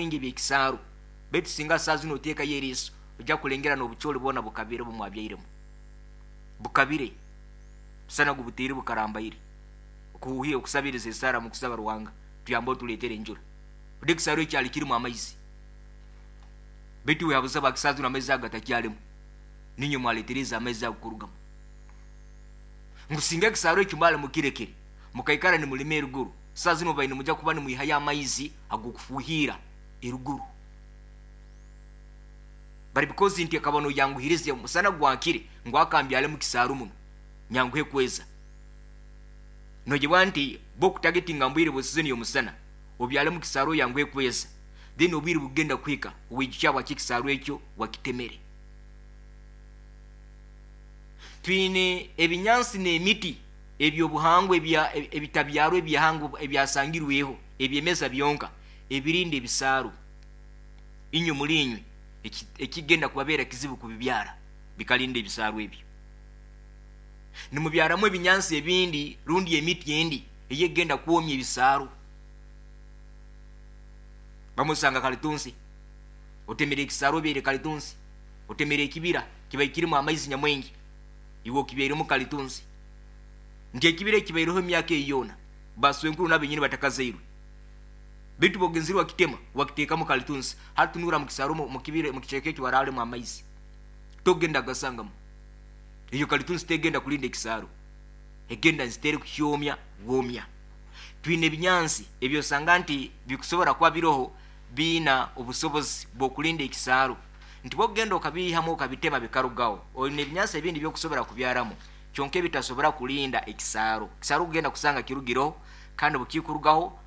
Nyamwingi eby'ekisaaru, baitu singa saaha zinu oteekayo eriiso, ojja kulengera n'obucooli bwona bukabire obu mwabyairemu. Bukabire, musana gubutaire bukarambaire. Okuhuhira, okusabiriza esaara mu kusaba Ruhanga, tuyambe otuleetere enjura. Odi ekisaaru ekyali kirimu amaizi. Baitu wehabuza bwa kisaaru zinu amaizi ago gatakyalimu. Niinywe mwaleetereze amaizi ago kurugamu. Ngu singa ekisaaru ekyo mwali mukirekere, mukaikara nimulima eruguru, saaha zinu mubaire nimugya kuba nimwihayo amaizi ag'okufuuhiira eruguru. But because nti akaba noyanguhiriza omusana gwakire ngu akambyale mu kisaaru muno nyanguhe kweza. Noyebwa nti bokutagetinga mbwire bwe season y'omusana obyale mu kisaaru oyanguhe kweza then obwire bugenda kuhika owijukye habwaki ekisaaru ekyo wakitemere. Twine ebinyansi n'emiti eby'obuhangwa ebitabyarwa eby'ihanga ebyasangirweho ebyemeza byonka ebirinda ebisaaru. Inywe muli inywe ekigenda kubabeera kizibu kubibyara bikalinda ebisaaru ebyo. Nimubyaramu ebinyansi ebindi rundi emiti endi ey'egenda kwomya ebisaaru. Bamwe osanga kalitunsi, otemere ekisaaru obyaire kalitunsi, otemere ekibira kibaire kirimu amaizi nyamwingi, iwe okibyairemu kalitunsi. Nti ekibira ekibaireho emyaka eyi yoona, baswenkuru nabenyini batakazairwe. Baitu bwogenzire wakitema, wakiteekamu kalitunsi, hati tunura mu kisaaru mu kibira, mu kicweka eki waraalemu amaizi, togenda kugasangamu. Eyo kalitunsi tegenda kulinda ekisaaru, egenda nzitere kukyomya bwomya. Twine ebinyansi ebyosanga nti bikusobora kuba biroho biina obusobozi bw'okulinda ekisaaru, nti bwokugenda okabiihamu okabitema bikarugaho, oine ebinyansi ebindi ebyokusobora kubyaramu kyonka ebitasobora kulinda ekisaaru. Ekisaaru okugenda kusanga kirugireho, kandi obukikurugaho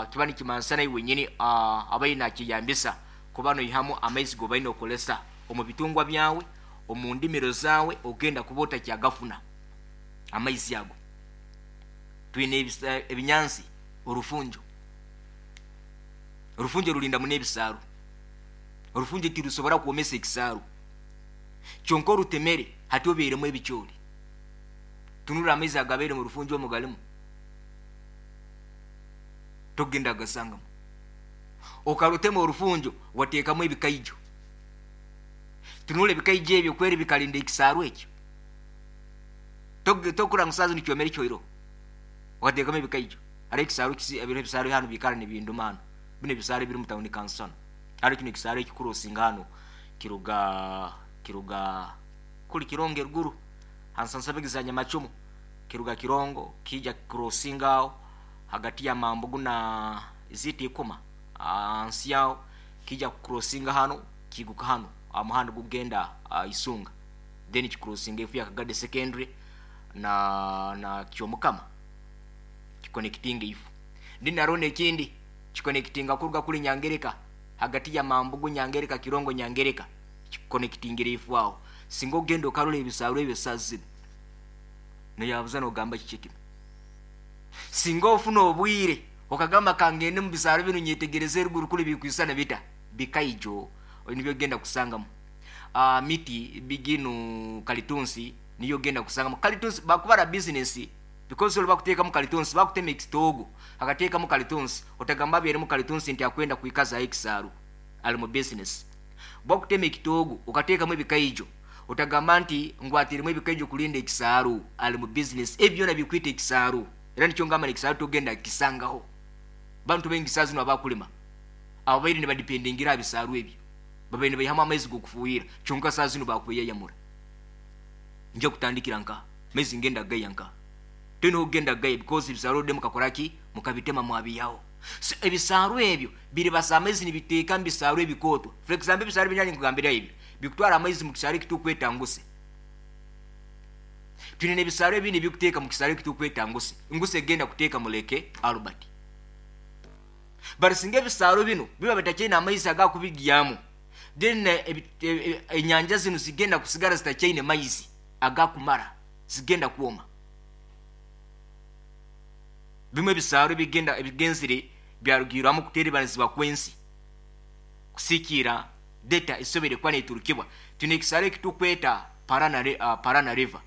kiba nikimansa naiwe wenyini abaire nakyeyambisa kuba noihamu amaizi gobaire nokolesa omu bitungwa byawe, omu ndimiro zaawe, ogenda kuba otakyagafuna amaizi ago. Twine ebinyansi, orufunjo. Orufunjo rulinda muno ebisaaru. Orufunjo tirusobora kwomesa ekisaaru. Kyonka orutemere hati obairemu ebicooli. Tunura amaizi agabaire mu rufunjo omu galimu. Tokugenda kugasangamu. Okarutema orufunjo wateekamu ebikaijo. Tunura ebikaijo ebyo kweri bikalinda ekisaaru ekyo. Tokura ngu saaha zinu kyomere kyoiroho. Okateekamu ebikaijo. Hariho ekisaaru ebiro ebisaaru hanu biikara nibinduma hanu. Binu ebisaaru ebiri mu tawuni kanso hanu. Hariho kinu ekisaaru ekikurosinga hanu kiruga kiruga kuli Kirongo eruguru ha nsansabegi za Nyamacumu. Kiruga Kirongo kiija kikurosinga aho hagati ya Mambugu na ziita Ikoma hansi aho kiija kukurosinga hanu kiiguka hanu aha muhanda ogukugenda Isunga then kikurosinga efu ya Kagadi Secondary na Kyomukama kikonekitinga eifu. Then haroho n'ekindi kikonekitinga kuruga kuli Nyangereka hagati ya Mambugu Nyangereka Kirongo Nyangereka kikukonekitingira eifu aho. Singa ogenda okarora ebisaaru ebyo saaha zinu noyabuza nogamba kiki kinu. Singa ofuna obwire okagamba kangende mu bisaaro binu nyetegereze eruguru kuli bikwisana bita, bikaijo nibyo ogenda kusangamu. Miti biginu kalitunsi niyo ogenda kusangamu. Kalitunsi bakubara business because oli bakuteekamu kalitunsi, bakutema ekitoogo akateekamu kalitunsi, otagamba abairemu kalitunsi nti akwenda kwikazaho ekisaaru, ali mu business. Bakutema ekitoogo okateekamu ebikaijo, otagamba nti ngu ateiremu ebikaijo kulinda ekisaaru, ali mu business. Ebi byona bikwita ekisaaru. Era nikyo ngamba n'ekisaaru togenda kukisangaho. Bantu baingi saaha zinu abakulima, ababaire nibadipendingira aha bisaaru ebyo, babaire nibaihamu amaizi g'okufuuhira, kyonka saaha zinu bakweyayamura. Nja kutandikira nkaha? Amaizi ngenda kugaiha nkaha? Toine h'okugenda kugaiha because ebisaaru already mukakora ki? Mukabitema mwabiihaho. So ebisaaru ebyo biribasa amaizi nibiteeka mu bisaaru ebikooto. For example ebisaaru ebi nari nkugambiraho ebyo, bikutwara amaizi mu kisaaru ekitukweta nguse. Twine n'ebisaaru ebindi ebikuteeka mu kisaaru ekitukweta nguse. Nguse egenda kuteeka mu Lake Albert. But singa ebisaaru binu biba bitakyaine amaizi agakubigyamu, then enyanja zinu zigenda kusigara zitakyaine maizi agakumara, zigenda kwoma. Bimu ebisaaru ebigenda ebigenzire byarugiirwamu kuteerebanizibwa kw'ensi kusikiira data esoboire kuba neturukibwa. Twine ekisaaru ekitukweta Parana River.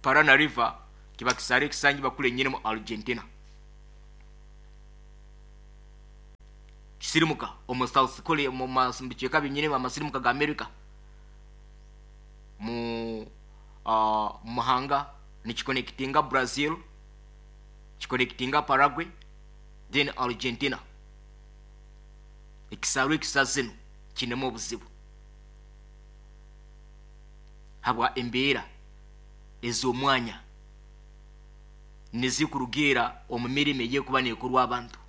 Parana River kiba kisaaru ekisangibwa kuli enyini mu Argentina. Amasirimuka omu South Korea, mu bicweka byenyini amasirimuka ga America mu muhanga, nikiconnectinga Brazil, kiconnectinga Paraguay, then Argentina. Ekisaaru ekisa zinu kinemu obuzibu habwa embeera ez'omwanya nizikurugiira omu mirimo eyekuba nekorwa abantu.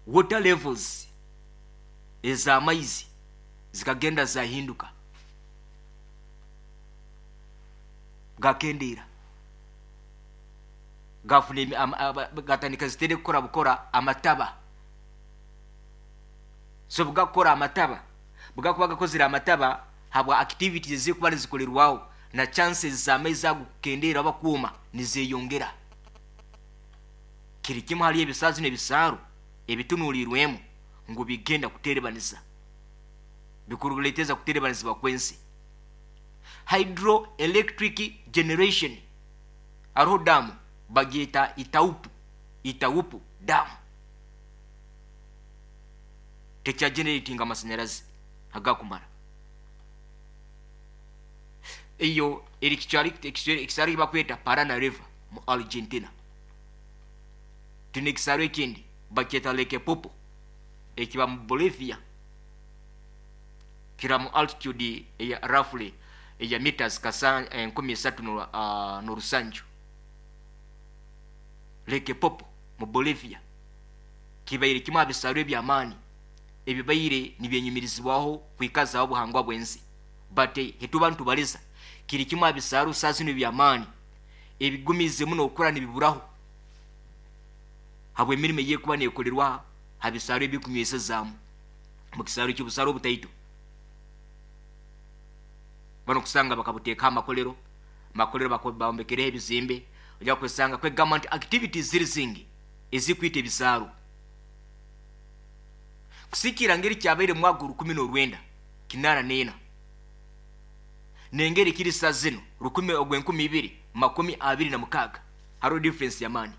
Water levels ez'amaizi zikagenda zahinduka, gakendeera, gafuna gatandika zitere kukora bukora amataba. So bugakora amataba, bugakuba gakozere amataba habwa activities ezikuba nizikolerwaho, na chances z'amaizi ago kukendeera oba kuuma nizeyongera. Kiri kimu hali ebisaazi n'ebisaaru ebitunuulirwemu ngu bigenda kuterebaniza, bikuruleteza kuterebanizibwa kw'ensi. Hydroelectric generation, hariho damu bagyeta Itaupu, Itaupu Dam, tekyageneratinga amasanyarazi agakumara. Eyo eri ekisaaru bakweta Parana River mu Argentina. Tuna ekisaaru ekindi bakyeta Lake Popo, ekiba mu Bolivia, kira mu altitude eya roughly eya meters kasa 3,000 n'orusanju. Lake Popo mu Bolivia kibaire kimu aha bisaaru eby'amaani ebibaire nibyenyumirizibwaho kwikazaho obuhangwa bw'ensi, but hetuba nitubaliza kiri kimu aha bisaaru saa zinu eby'amaani ebigumize muno okukura nibiburaho habw'emirimo eyekuba neekolerwa ha bisaaru ebikunywesezaamu mu kisaaru ky'obusaaru obutaito. Bano kusanga bakabuteekaho amakolero, amakolero bambekereho ebizimbe, ojja kwesanga kwegamba nti activities ziri zingi ezikwita ebisaaru. Kusikira ngeri kyabaire mu mwaka 1984 nengeri kiri saa zino rukumi ogw'enkumi ibiri makumi abiri na mukaaga, hariho difference y'amaani.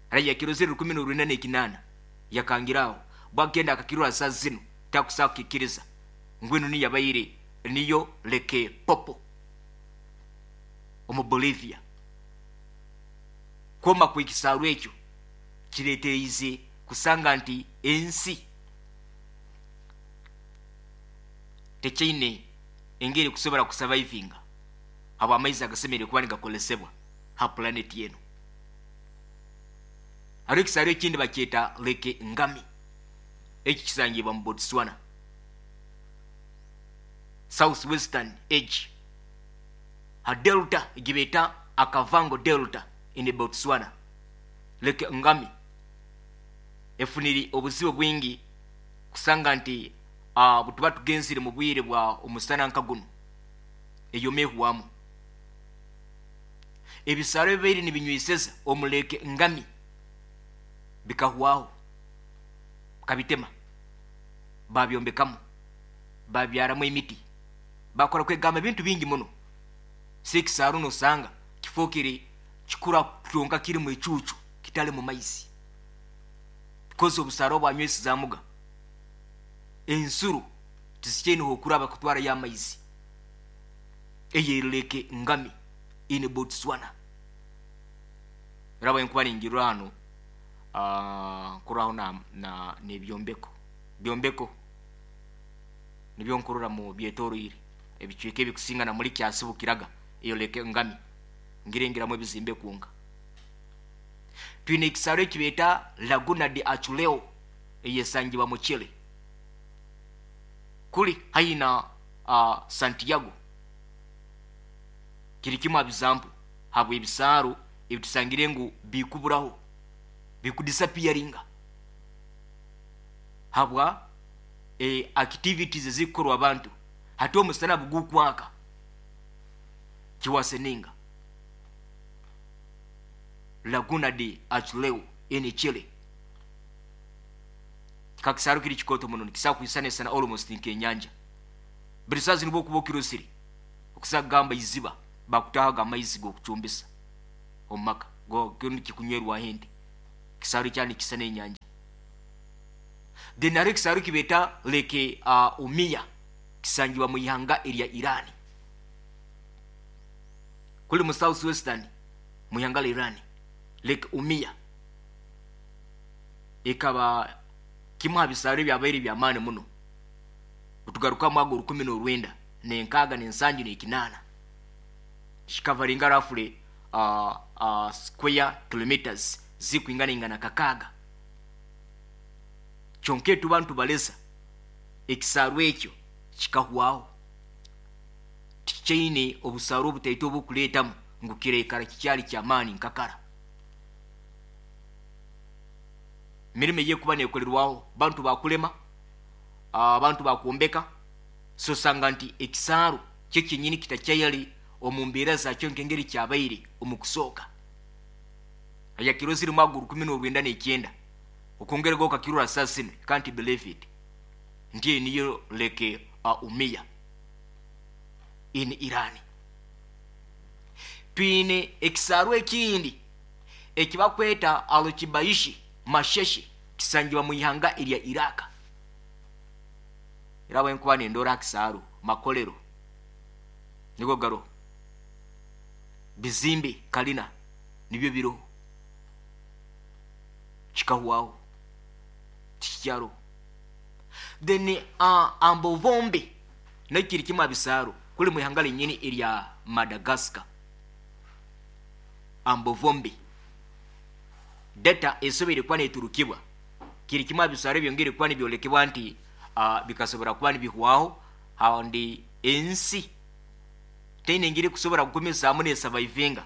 Hariya yakirozere 1988, yakangiraho bwagenda akakirora saa zino takusaa kukikiriza ngwino niyo yabaire niyo Lake Popo omu Bolivia. Kwoma kw'ekisaaru ekyo kireetereize kusanga nti ensi tekyaine engeri kusobora kusurvivinga habw'amaizi agasemeriire kuba nigakozesebwa ha planet eno. Hariho ekisaaru ekindi bakyeta Lake Ngami, eki kisangibwa mu Botswana, south western edge ha delta egibeeta Okavango Delta in Botswana. Lake Ngami efunire obuzibu bwingi kusanga nti butuba tugenzire mu bwire bwa omusana nka guno eyomehwamu. Ebisaaru ebibaire nibinyweseza omu Lake Ngami bikahwaho, bakabitema, babyombekamu, babyaramu emiti, bakora kwegamba ebintu bingi muno. Si ekisaaru nosanga kifookere kikura kyonka kirimu ecuucu, kitali mu maizi, because obusaaro obwanywesezaamuga ensuro tizikyaine okuraba kutwarayo amaizi. Eyo eri Lake Ngami in Botswana. Raba enkuba ningirra hano, nkuraho na n'ebyombeko byombeko nibyo nkurora mu byetoroire ebicweka ebikusinga na muri kyasibukiraga. Eyo Lake Ngami ngirengeramu ebizimbe kwonka. Twine ekisaaru ekibeeta Laguna de Aculeo, eyesangibwa mu Chile, kuli haihi na Santiago. Kiri kimu aha bizampu habw'ebisaaru ebitusangire ngu bikuburaho, bikudisappearinga habwa activities ezikukorwa abantu. Hati omusana bugukwaka kiwaseninga Laguna de Aculeo in Chile. Kakisaaru kiri kikooto muno, nikisaa kwisanisana almost nk'enyanja. Buri saazi nibwo okuba okirosire okusa kugamba iziba bakutahaga amaizi g'okucumbisa omu maka kikunywerwaho ente. Kisaaru kyani kisa n'enyanja. Then hariho ekisaaru kibeeta Lake Umiya, kisangibwa mu ihanga erya Irani, kuli mu south western mu ihanga lya Irani. Lake Umiya ekaba kimu ha bisaaro ebyabaire by'amaani muno. Otugaruka mwaka 1968, kikavaringa roughly square kilometers zikwingana ingana 6. Kyonka etuba ntubaleza ekisaaru ekyo kikahwaho, tikikyaine obusaaru obutaito obukuleetamu ngu kireikara kikyali kyamaani nkakara. Mirimo eyekuba nekolerwaho, bantu bakulema, abantu bakwombeka, so osanga nti ekisaaru kyo kyenyini kitakyayali omu mbeera zakyo nk'engeri kyabaire omu kusooka. Ayakirozire mwaka 1999, okwongerega okakirora saa zinu, can't believe it nti eyo niyo Lake Umiya in Iran. Twine ekisaaru ekindi ekibakweta Alukibaishi Masheshe, kisangibwa mu ihanga erya Iraq. Era bwenkuba nendora ha kisaaru, makolero nigo garoho, bizimbe kalina nibyo biroho, kikahwaho, tikikyaroho. Then Ambovombe nakyo kiri kimu ha bisaaru kuli mu ihanga lyenyini erya Madagascar. Ambovombe, data esoboire kuba neturukibwa, kiri kimu ha bisaaru ebyongere kuba nibyolekebwa nti bikasobora kuba nibihwaho, handi ensi teine engeri kusobora kugumizaamu nesavaivinga,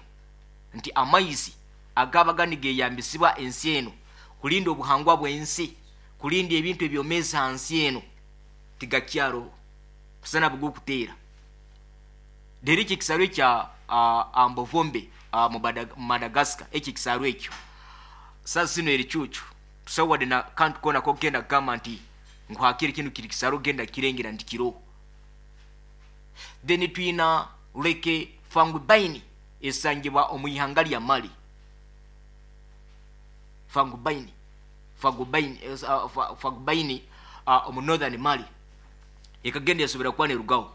nti amaizi agabaga nigeyambisibwa ensi eno kulinda obuhangwa bw'ensi, kulinda ebintu ebyomezi hansi eno, tigakyaroho, kusana bugukuteera. Rero eki ekisaaru ekya Ambovombe mu Madagascar, eki ekisaaru ekyo saa zino eri cucu, tusawadde na kantu koona kogenda kugamba nti ngu hakiri kinu kiri kisaaru ogenda kirengera nti kiroho. Then twina Lake Fangubaini esangibwa omu ihanga lya Mali. Fangubaini, Fagubaini, Fagubaini omu northern Mali ekagenda yasobora kuba nerugaho.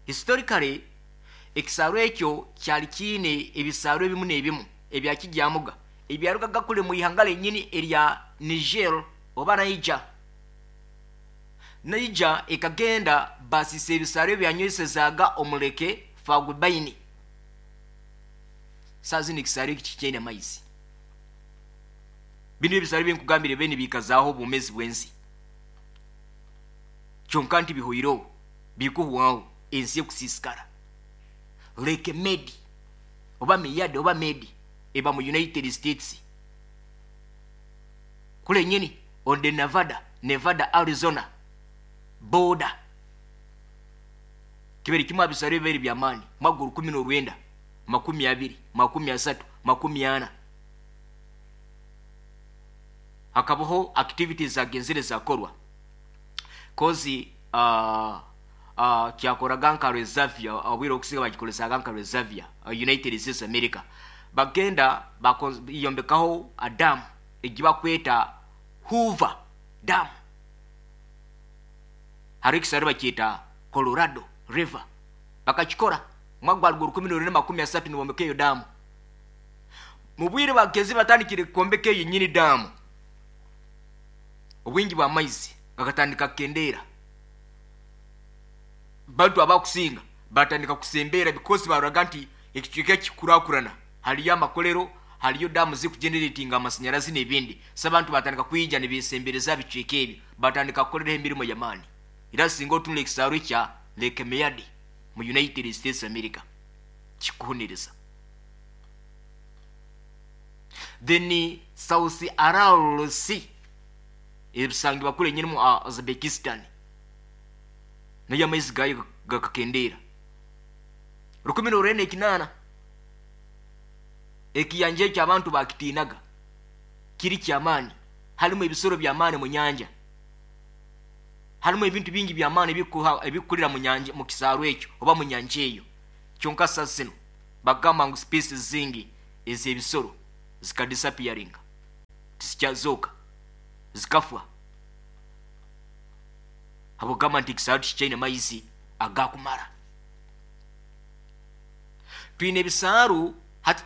Historically ekisaaru ekyo kyali kiine ebisaaru ebimu n'ebimu ebyakigyamuga ebyarugaga kule mu ihanga lyenyini erya Niger oba Niger. Niger ekagenda basisa ebisaaru ebyanywesezaaga omuleke Fagubaini. Saa zino ekisaaru eki kikyaine amaizi. Binu ebisaaru ebinkugambire bene bikazaaho obwomezi bw'ensi, kyonka nti bihoireho, bikuhwaho, ensi ekusiisikara. Lake Medi oba Miyade oba Medi eba mu United States kule nyini on the Nevada Arizona border. Kibere kimu ha bisaaru ebibaire by'amaani mwaka 1920, 30, 40. Hakabaho activities zagenzere zakorwa kozi kyakoraga nka reservoir, obwire okusinga bagikolesaga nka reservoir. United States America bagenda bayombekaho a dam egibakweta Hoover Dam. Hariho ekisaaru bakyeta Colorado River, bakakikora mwaka gwali 1930, nibombeka eyo damu. Mu bwire bagenzi batandikire kwombeka eyo nyini damu, obwingi bw'amaizi gakatandika kukendeera, bantu abakusinga batandika kusembeera because baroraga nti ekicweka kikurakurana, hariyo amakolero, hariyo damu zikugeneratinga amasanyarazi n'ebindi. So abantu batandika kwija nibesembereza bicweka ebyo, batandika kukoreraho emirimo y'amaani. Era singa otunula ekisaaru kya Lake Mead mu United States America, kikuhuniriza. Then South Aral Sea ebisangibwa kule nyini mu Uzbekistan, nayo amaizi gayo gakakendeera 1908. Ekiyanja ekyo abantu bakitiinaga, kiri kyamaani, harimu ebisoro by'amaani mu nyanja, harimu ebintu bingi by'amaani ebikukurira mu nyanja, mu kisaaru ekyo oba mu nyanja eyo. Kyonka saa zino bagamba ngu species zingi ez'ebisoro zikadisappearinga, tizikyazooka. Zikafwa habwokugamba nti ekisaaru tikikyaine maizi agakumara. Twine ebisaaru hati,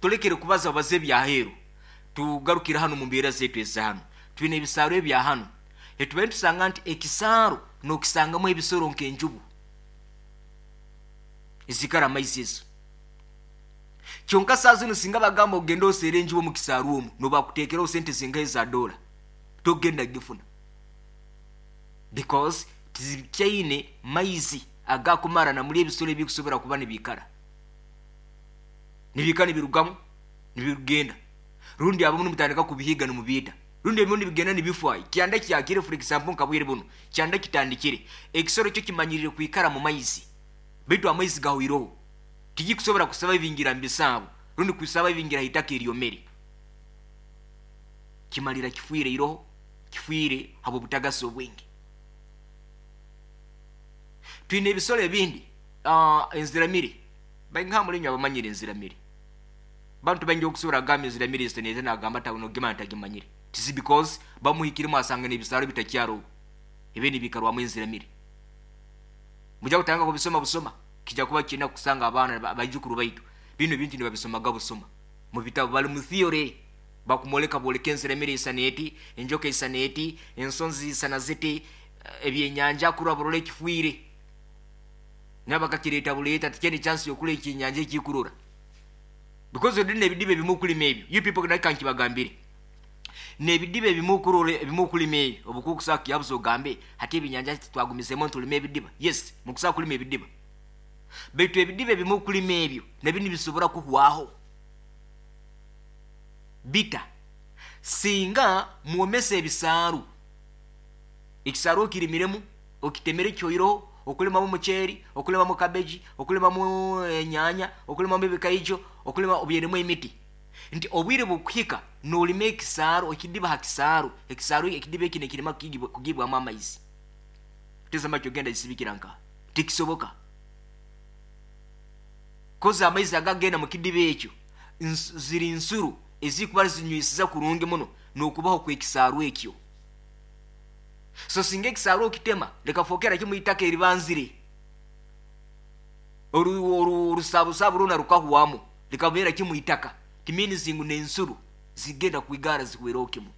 tulekere kubaza baza ebyaheeru, tugarukire hanu mu mbeera zaitu eza hanu. Twine ebisaaru ebya hanu, etubaire nitusanga nti ekisaaru nokisangamu ebisoro nk'enjubu ezikara amaizi ezo. Kyonka saa zinu singa bagamba ogende oseere enjubu omu kisaaru omu, nobakuteekeraho sente zingahe za dola, togenda kugifuna, because tizikyaine maizi agakumara namuli ebisoro ebikusobora kuba nibiikara nibiikara nibirugamu nibigenda, rundi abamu nimutandika kubihiga nimubiita, rundi ebimu nibigenda nibifwa. Kyanda kyakire, for example, nka bwire buno kyanda kitandikire, ekisoro kyo kimanyirire kwikara mu maizi, baitu amaizi gahwireho, tigikusobora kusurvivingira mu bisaabo rundi kusurvivingira haitaka eryomere. Kimalira kifiire iroho, kifiire habw'obutagasi obwingi. Twine ebisoro ebindi, enziramire. Baingaha mulinywe abamanyire enziramire? Bantu baingi okusobora kugamba enziramire ezitanete, nagamba nogema ntagimanyire. Tisi because bamuhikiremu asanga n'ebisaro bitakyaroho ebi nibiikarwamu enziramire. Mujja kutandika kubisoma busoma, kijja kuba kirina kusanga abaana baijukuru baitu bino ebintu nibabisomaga busoma mu bitabo, bali mu theory, bakumwoleka bwoleka enziramire isana eti, enjoka isana eti, ensonzi isana ziti, ebyenyanja kurwa burora ekifiire nabo bakakireta buleeta tikyene chance yokula ekyenyanja ekikurora, because odini ebidiba ebimu okulima ebyo. You people, dakika nkibagambire, n'ebidiba ebimu okurora ebimu okulima ebyo, obukukusa kiyabuza ogambe hati ebinyanja twagumisemu ntulima ebidiba. Yes, mukusobola kulima ebidiba, baitu ebidiba ebimu okulima ebyo nabyo nibisobora kuhwaho bita singa mwomesa ebisaaru. Ekisaaru okirimiremu, okitemere kyoiroho, okulimamu omuceeri, okulimamu kabeji, okulimamu enyanya, okulimamu ebikaijo, okulima obyeremu emiti, nti obwire bukuhika nolima ekisaaru, ekidiba ha kisaaru, ekisaaru ekidiba eki nekirema kugibwamu amaizi, tezama kyogenda gisibikira nka tikisoboka, koza amaizi agagenda mu kidiba ekyo ziri nsuru ezikuba zinywisiza kurungi muno n'okubaho kw'ekisaaru ekyo. So singa ekisaaru okitema likafookera kimu itaka eribanzire, orusabusabu rwona rukahwamu, likabeera kimu itaka, timeans ngu n'ensuru zigenda kwigara zihwereho kimu.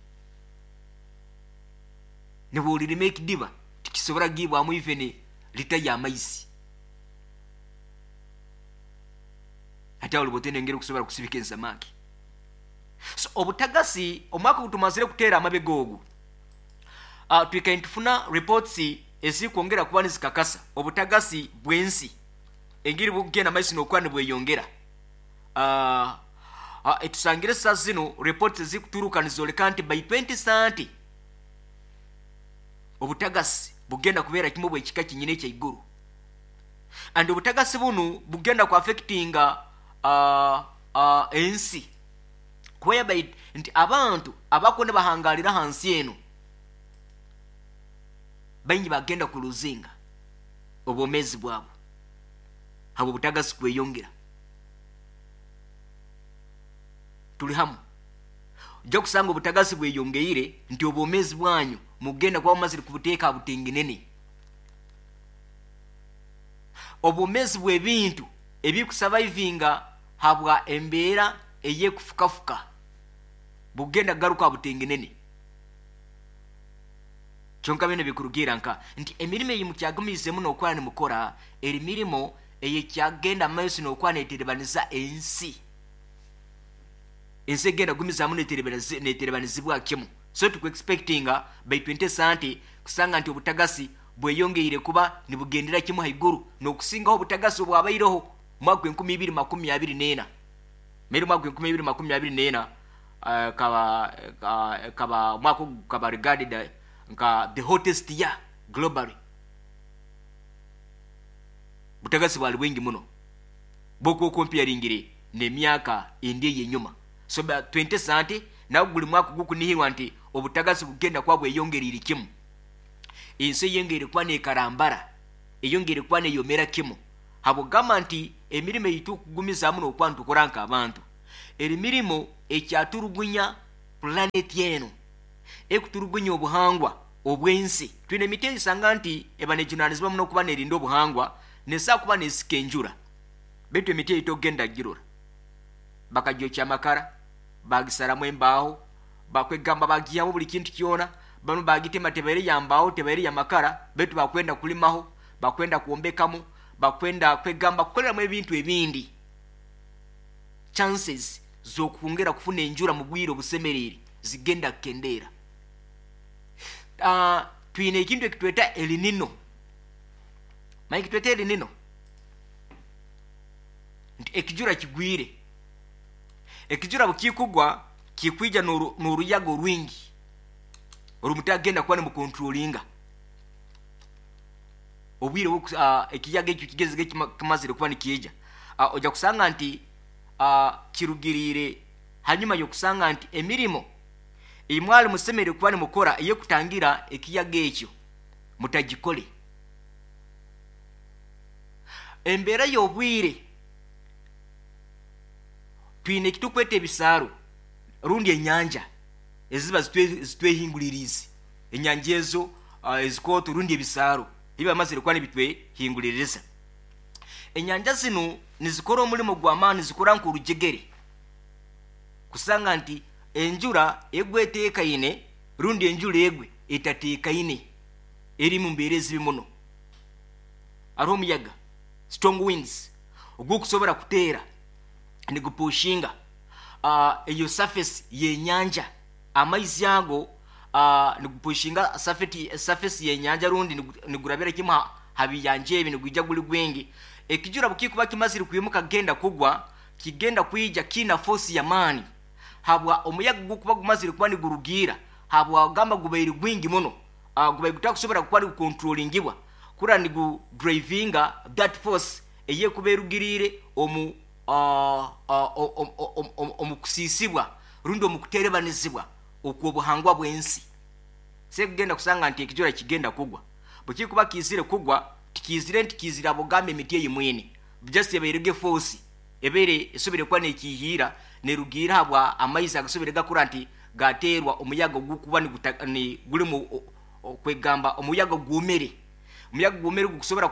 Nibwo olirima ekidiba tikisobora kugibwamu even lita y'amaizi. Hati aho oliba engeri okusobora kusibika ensamaki. So obutagasi, omwaka ogutumazire kuteera amabega ogu, twikaire nitufuna reports ezikwongera kuba nizikakasa obutagasi bw'ensi engeri bukugenda maiso n'okuba nibweyongera. Etusangire saa zino reports ezikuturuka nizoleka nti by 2030 obutagasi bugenda kubeera kimu bwekika kinyine ekyaiguru, and obutagasi bunu bugenda kuaffectinga ensi, whereby nti abantu abakuba nibahangalira hansi eno baingi bagenda kulosinga obwomeezi bwabo habw'obutagasi kweyongera. Tuli hamu? Ojja kusanga obutagasi bweyongeire nti obwomeezi bwanyu mugenda kuba mumazire kubuteeka ha butengenene. Obwomeezi bw'ebintu ebikusurvivinga habwa embeera ey'ekufukafuka bugenda kugaruka ha butengenene. Kyonka bino bikurugiira nka nti emirimo eyi mukyagumiizemu n'okuba nimukora eri mirimo eyekyagenda maiso n'okuba neterebaniza ensi. Ensi egenda gumizaamu neterebanizibwa kimu. So tukuexpectinga by 2030 kusanga nti obutagasi bweyongeire kuba nibugendera kimu haiguru n'okusingaho obutagasi obwabaireho mwaka 2024. Meri mwaka 2024 kaba mwaka ogu kaba regarded nka the hottest year globally. Butagasi bwali bwingi muno bwokuba okomparingire n'emyaka endi ey'enyuma. So by 2030 nawe guli mwaka gukunihirwa nti obutagasi bugenda kuba bweyongereire kimu, ensi eyongeire kuba nekarambara, eyongeire kuba neyomera kimu, habwokugamba nti emirimo ei tukugumizaamu n'okuba nitukora nk'abantu eri mirimo ekyaturugunya planeti eno. Ekuturugunya obuhangwa obw'ensi. Twine emiti eyisanga nti eba nejunanizibwa muno kuba nerinda obuhangwa, nesaa kuba nesika enjura, baitu emiti eyi tokugenda kugirora, bakagyokya amakara, bagisaramu embaaho, bakwegamba bagihamu buli kintu kyona. Banu bagitema, tebaire ya mbaaho, tebaire ya makara, baitu bakwenda kulimaho, bakwenda kwombekamu, bakwenda kwegamba kukoleramu ebintu ebindi. Chances z'okwongera kufuna enjura mu bwire obusemeriire zigenda kukendeera. Twine ekintu ekitweta elinino. Manyi kitweta elinino nti ekijura kigwire. Ekijura bukikugwa kikwija n'oruyaga orwingi orumutagenda kuba nimukontrolinga obwire. Ekiyaga ekyo kigezege kimazire kuba nikiija, ojja kusanga nti kirugiriire hanyuma y'okusanga nti emirimo ei mwali musemeriire kuba nimukora ey'okutangira ekiyaga ekyo mutagikole. Embeera y'obwire, twine ekitukweta ebisaaro rundi enyanja eziba zitwehinguliriize. Enyanja ezo ezikooto rundi ebisaaro ebi bamazire kuba nibitwehinguliriza, enyanja zinu nizikora omulimo gw'amaani, zikora nk'orujegere kusanga nti enjura egwe eteekaine rundi enjura egwe etateekaine, eri mu mbeera ezibi muno. Hariho omuyaga, strong winds, ogukusobora kuteera nigupushinga eyo surface y'enyanja. Amaizi ago nigupushinga surface y'enyanja rundi nigurabira kimu ha biyanja ebi, nigwija guli gwingi. Ekijura bukikuba kimazire kwimuka kugenda kugwa, kigenda kwija kiina force y'amaani habwa omuyaga gukuba gumazire kuba nigurugiira, habwa gamba gubaire gwingi muno, gubaire gutakusobora kuba nigukontrolingibwa kura nigudrivinga that force eyekuba erugiriire omu omu kusiisibwa rundi omu kuterebanizibwa okw'obuhangwa bw'ensi. Sekugenda kusanga nti ekijura kigenda kugwa, bwekikuba kiizire kugwa, tikiizire nti kiizire abogamba emiti eyi mwine, just ebairege force ebaire esobire kuba nekihiira nerugiira habwa amaizi agasobire gakura nti gateerwa omuyaga ogukuba ni gulimu okwegamba omuyaga gwomere. Omuyaga gwomere gukusobora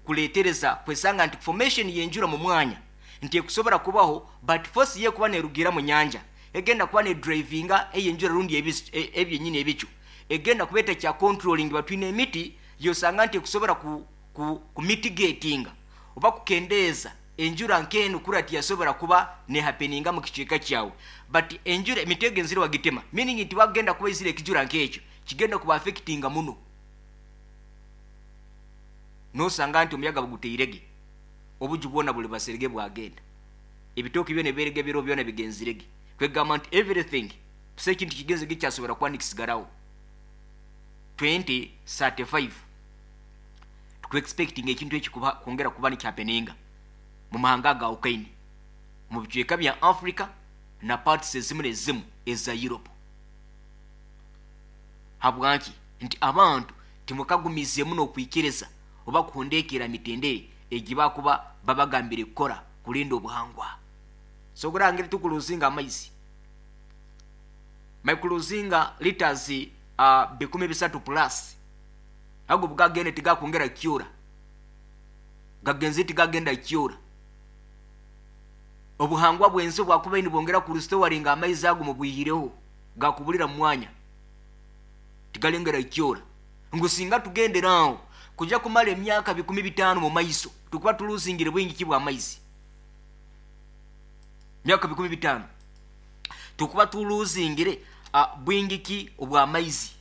kuletereza kwesanga nti formation y'enjura mu mwanya nti ekusobora kubaho, but force ye kuba nerugira mu nyanja egenda kuba ne drivinga eyenjura rundi ebyenyini ebicu egenda kuba etakya controlling. Batwine emiti yosanga nti ekusobora ku mitigatinga oba kukendeeza enjura nk'enu kura tiyasobora kuba nehappeninga mu kicweka kyawe. But enjura, emiti egenzire wagitema, meaning nti wagenda kuba izire ekijura nk'ekyo kigenda kuba affectinga muno. Nosanga nti omuyaga buguteirege, obuju bwona buli baserege bwagenda, ebitooke byona ebiberege biro byona bigenzirege. Kwegamba nti everything busa ekintu kigenzege kyasobora kuba nikisigaraho. 2035 tukuexpecting ekintu eki kuba kwongera kuba nikihappeninga mu mahanga agawukaine mu bicweka bya Africa na parts ezimu nezimu eza Europe. Habwaki? Nti abantu timukagumizeemu n'okwikiriza oba kuhondekera mitendere egi bakuba babagambire kukora kulinda obuhangwa. So ogurangire tukuluzinga amaizi, maikuluzinga liters 3,000 plus. Ago bugagenda tigakwongera kyora, gagenze tigagenda kyora. Obuhangwa bw'ensi bwakuba nibwongera kurestoringa amaizi ago mubwihireho gakubulira mu mwanya, tigalengera kyora. Ngu singa tugenderaho kujja kumara emyaka 5,000 mu maiso, tukuba tuluzingire bwingi ki bw'amaizi. Myaka 5,000 tukuba tuluzingire bwingi ki obw'amaizi,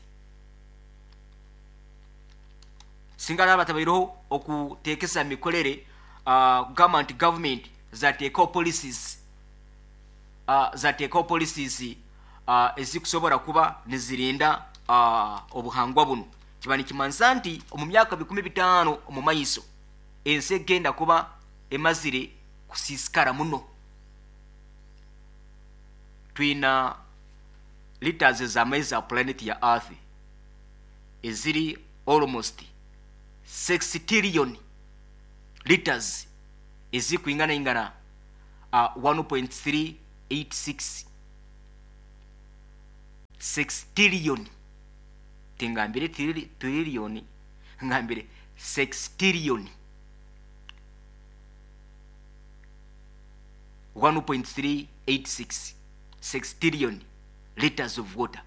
singa naba tabaireho okuteekesa mikorere, kugamba nti government zateekaho policies, zateekaho policies ezikusobora kuba nizirinda obuhangwa buno. Kiba nikimanisa nti omu myaka 5,000 omu maiso ensi egenda kuba emazire kusiisikara muno. Twina liters ez'amaizi za planet ya earth eziri almost 6 trillion liters, ezikwingana ingana 1.386. Sextillion, tingambire trillion, ngambire sextillion, 1.386 sextillion liters of water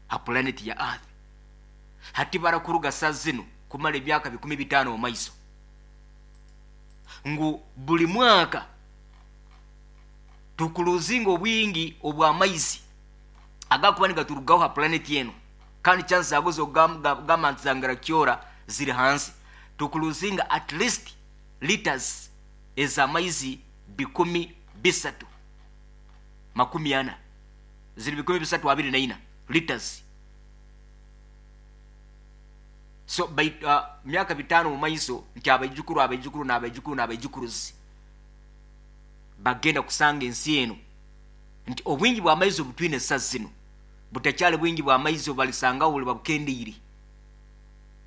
ha planet ya Earth. Hati barakuruga saa zino kumara emyaka 5,000 mu maiso, ngu buli mwaka tukuruzinga obwingi obw'amaizi agakuba nigaturugaho ha planet eno, kandi chance zago z'okugamba nti zangara kyora ziri hansi. Tukuruzinga at least liters ez'amaizi 3,340, ziri 3,324 liters. So by myaka 5 mu maiso nti abaijukuru, abaijukuru n'abaijukuru n'abaijukuruzi bagenda kusanga ensi eno nti obwingi bw'amaizi obutwine sa zino butakyali bwingi bw'amaizi obalisangaho, buli babukendeire,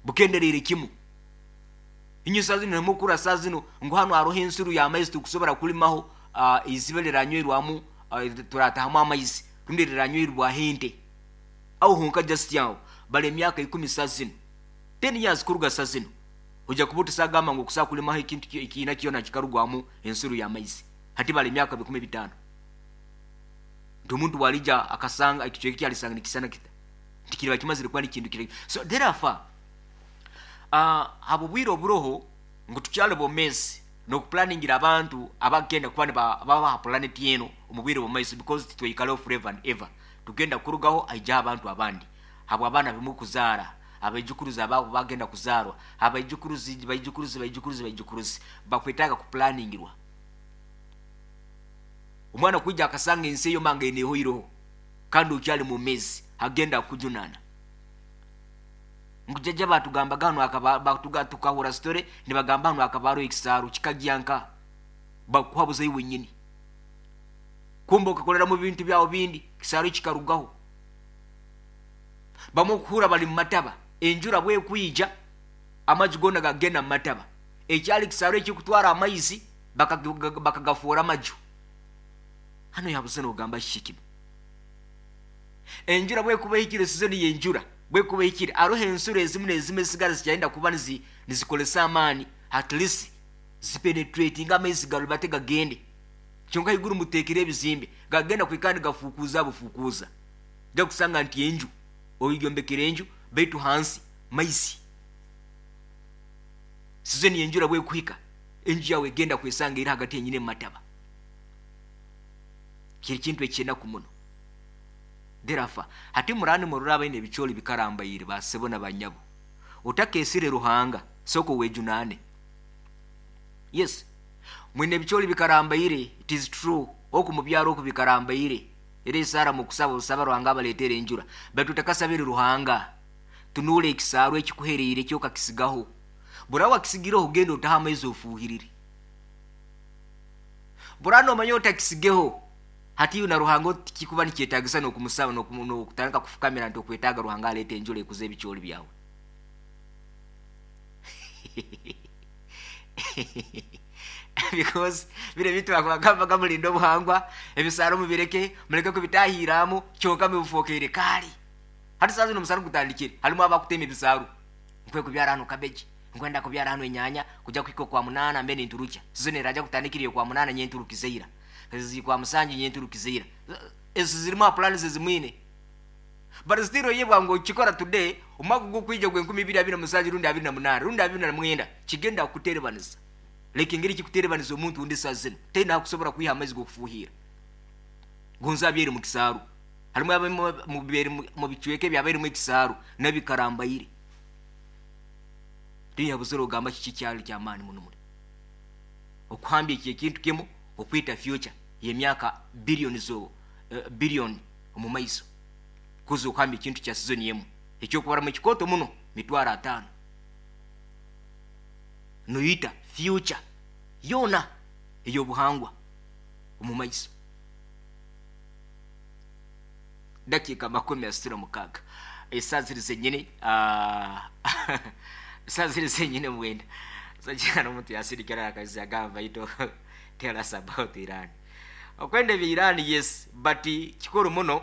bukendereire kimu. Inyo saa zino nemukura saa zino ngu hano haroho ensuru y'amaizi tukusobora kulimaho, iziba liranywerwamu, turatahamu amaizi rundi liranywerwaho ente aho honka. Just aho bali emyaka 10 saa zino, 10 years kuruga saa zino, ojja kuba otusagamba ngu okusobola kulimaho ekintu ekiina kyona kikarugwamu ensuru y'amaizi. Hati bali emyaka 5,000, nti omuntu bwalija akasanga ekicweka kyalisanga nikisana kita, nti kiriba kimazire kuba nikintu kiri. So therefore, habwobwire oburoho ngu tukyali bomezi n'okupulaningira abantu abagenda kuba baba ha planet eno omu bwire bw'omumaiso, because titweyikaleho forever and ever. Tugenda kurugaho, aijaho abantu abandi, habw'abaana bimukuzaara, abaijukuruzi ababo bagenda kuzaarwa, abaijukuruzi, baijukuruzi, baijukuruzi, baijukuruzi bakwetaaga kupulaningirwa. Omwana kwija akasanga ensi eyo manga enehoireho kandi okyali mumezi, agenda kujunana ngu jajja batugambaga hano akaba tukahura story nibagamba hano akaba hariho ekisaaru kikagyanka, bakuhabuza iwe nyini, kumbe okakolera mu bintu byawe bindi, kisaaru kikarugaho. Bamwe okuhura bali mu mataba, enjura bwekwija amaju gona gagenda mu mataba. Ekyali kisaaru ekikutwara amaizi bakagafuura amaju. Hano yabuze nogamba kiki kino? Enjura bwekuba ehikire, sizoni y'enjura bwekuba ehikire, aroho ensuro ezimu n'ezimu ezisigara zikyayenda kuba nizikolesa amaani, at least zipenetratinga amaizi garubate gagende. Kyonka haiguru muteekere ebizimbe, gagenda kwikara nigafukuuza bufukuuza. Ojja kusanga nti enju oyombekere enju, baitu hansi maizi. Sizoni y'enjura bwekuhika, enju yawe egenda kwesanga eri hagati yenyini emumataba. Kiri kintu ekyenaku muno. Therefore, hati murani murora abaine ebicooli bikarambaire, basebo na banyabo, otakesire Ruhanga, soko wejunane. Yes, mwine ebicooli bikarambaire, it is true, oku mubyaro oku bikarambaire, era esara mukusaba osaba Ruhanga abaletere enjura, baitu otakasabire Ruhanga, tunuule ekisaaru ekikuhereire kyokakisigaho. Bura wakisigireho, ogenda otaha amaizi ofuuhirire. Bura nomanya otakisigeho, hati na Ruhanga kikuba nikyetagisa n'okumusaba n'okutandika kufukamira nti okwetaaga Ruhanga aleete enjura ekuza ebicooli byawe. Because bino ebintu bakubagambaga mulinde obuhangwa, ebisaaro mubireke, muleke kubitahiramu, kyonka mubifokeire kaali. Hati saa zino omusana gutandikire, harimu abakutema ebisaaru. Nkwe kubyara hano cabbage, nkwenda kubyara hano enyanya, kujya kuhika okwa 8 mbe ninturukya. Sizoni eraja kutandikira okwa 8 nyenturukizeira. Ezi kwa 7 nyenturukizeira. Ezo zirimu plans ezimwine. But still yebwa ngo kikora today, omwaka gukwija gwe 2027 rundi 28 rundi 29 kigenda kuterebaniza. Leka engeri kikuterebaniza omuntu undi saa zino tena akusobora kwiha amaizi g'okufuhira. Gonza abyere mu kisaaru. Harimu abamu mu bicweka ebyabaire mu ekisaaru nabikarambaire. Tiyabuzire ogamba kiki kyali kyamaani muno muli. Okuhambya eki ekintu kimu okwita future y'emyaka billion zo billion omu maiso. Kuza okuhambya ekintu kya season emu ekyokubaramu ekikooto muno 500,000. Noyita future yona ey'obuhangwa omu maiso. Dakiika 36, esaa ziri zenyini, esaa ziri zenyini 9. Sajana omuntu yasindikira akazi agamba, baitu tell us about Iran. Okwenda ebya Iran, yes, but kikuru muno.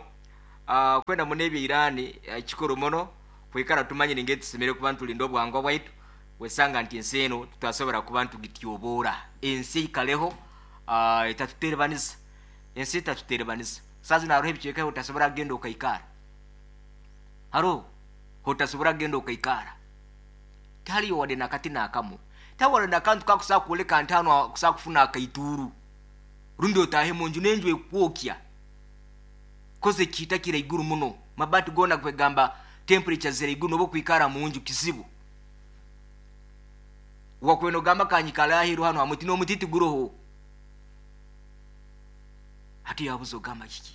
Kwenda muno ebya Irani, kikuru muno kwikara tumanyire ngeri tusemere kuba nitulinda obuhangwa bwaitu. Wesanga nti ensi eno tutasobora kuba ntugityoboora, ensi eikaleho, etatuterebaniza, ensi etatuterebaniza. Saaha zinu haroho ebicweka ebi otasobora kugenda okaikara, haroho hotasobora kugenda okaikara, tihaliyo wadde nakati nakamu, tihaliyo wadde nakantu kakusobola kwoleka nti hanu kusobola kufuna akaituuru rundi otaahe munju n'enju ekukwokya, koze ekiita kiri haiguru muno, mabaati goona kwegamba temperature ziri haiguru, nobu okwikara munju kizibu. Wakwenda ogamba kanyikale aheeru hanu ha muti, n'omuti tiguroho. Hati yabuza ogamba kiki?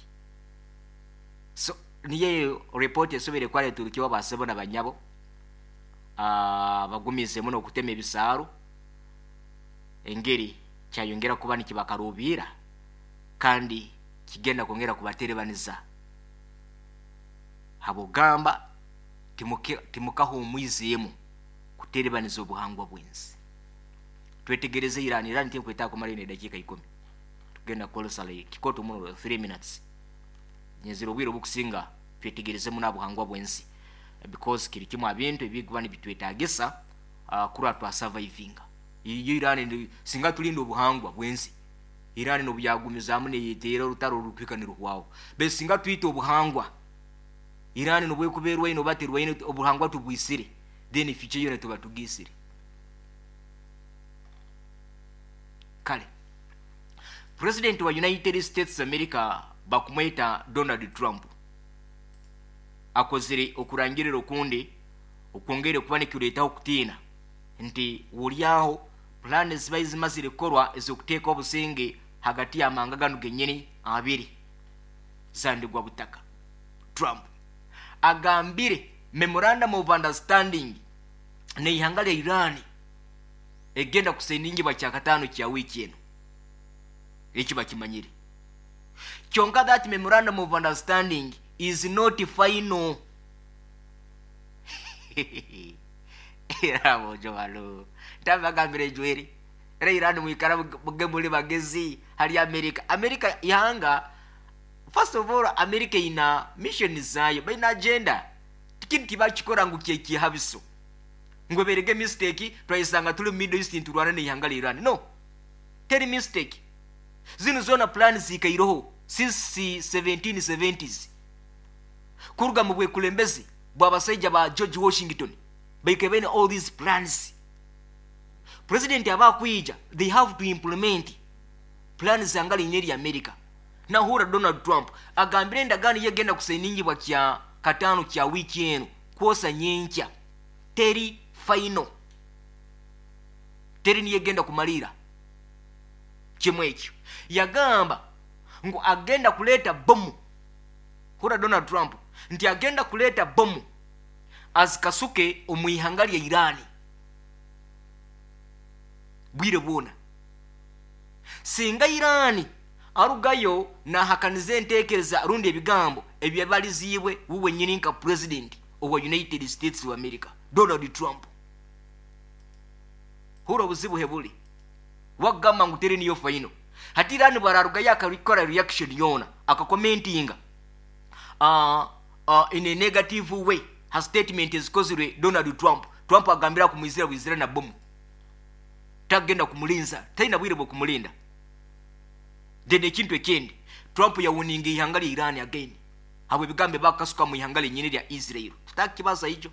So niyo eyo report esoboire kuba neturukibwa basebo na banyabo, bagumize muno okutema ebisaaru, engeri kyayongera kuba nikibakaruubiira kandi kigenda kwongera kubaterebaniza habw'okugamba timukahumwizeemu kuterebaniza obuhangwa bw'ensi. Twetegereze Iran, Iran tinkwetaaga kumara ine edakiika 10, tugenda kukozesa like kikoto muno 3 minutes. Nyenzire obwire obukusinga twetegereze muno abuhangwa bw'ensi, because kiri kimu abintu ebikuba nibitwetagisa kurora twasurvivinga. Iyo Iran singa tulinda obuhangwa bw'ensi, Iran nobuyagumizaamu neyeteera orutaro orukuhika niruhwaho. Baitu singa twita obuhangwa, Iran nobwekuba erwaine oba terwaine, obuhangwa tubwisire, then future yona tuba tugiisire. Kale President wa United States America bakumweta Donald Trump akozire okurangirira okundi okwongere kuba nikireetaho kutiina nti wulyaho pulaani zibaire zimazire kukorwa ez'okuteeka obusinge hagati y'amanga ganu genyini abiri zandigwa butaka. Trump agambire memorandum of understanding n'eihanga lya Iran egenda kusainingibwa kyakataano kya wiiki eno, eki bakimanyire. Kyonka that memorandum of understanding is not final. Era bonjo bano ntabagambire ejweri era Iran mwikara muge muli bagezi hali America. America ihanga, first of all, America ina mission zayo, baina agenda, tikintu tibakikora ngu kyekihabiso ngu eberege mistake twayesanga tuli Middle East nturwana n'ihanga lya Iran. No, teri mistake, zinu zona plan zikairoho since 1770s kuruga mu bwekulembezi bw'abasaija ba George Washington, baikaire baine all these plans. President aba akwija, they have to implement plans zanga liine erya America. Nahura Donald Trump agambire endagaano yegenda kusainingibwa kya kataano kya wiiki eno kwosa nyenkya teri final, teri niyo egenda kumalira kimu ekyo. Yagamba ngu agenda kuleeta bomu, hura Donald Trump nti agenda kuleeta bomu azikasuke omu ihanga lya Irani bwire bwona singa Irani arugayo nahakaniza entekereza rundi ebigambo ebyabaliziibwe wuwe nyini nka president owa United States of America Donald Trump. Hura obuzibu hebuli wagamba ngu teri niyo final. Hati Irani bwararugayo akakora reaction yona akakomentinga in a negative way ha statement ezikozirwe Donald Trump, Trump agambira kumwizira bwizira na bomu, tagenda kumulinza, talina bwire bwokumulinda. Then ekintu ekindi, Trump yawuninga ihanga lya Iran again habwe ebigambo bakasuka mu ihanga lyenyini lya Israel. Tutakibaza ijo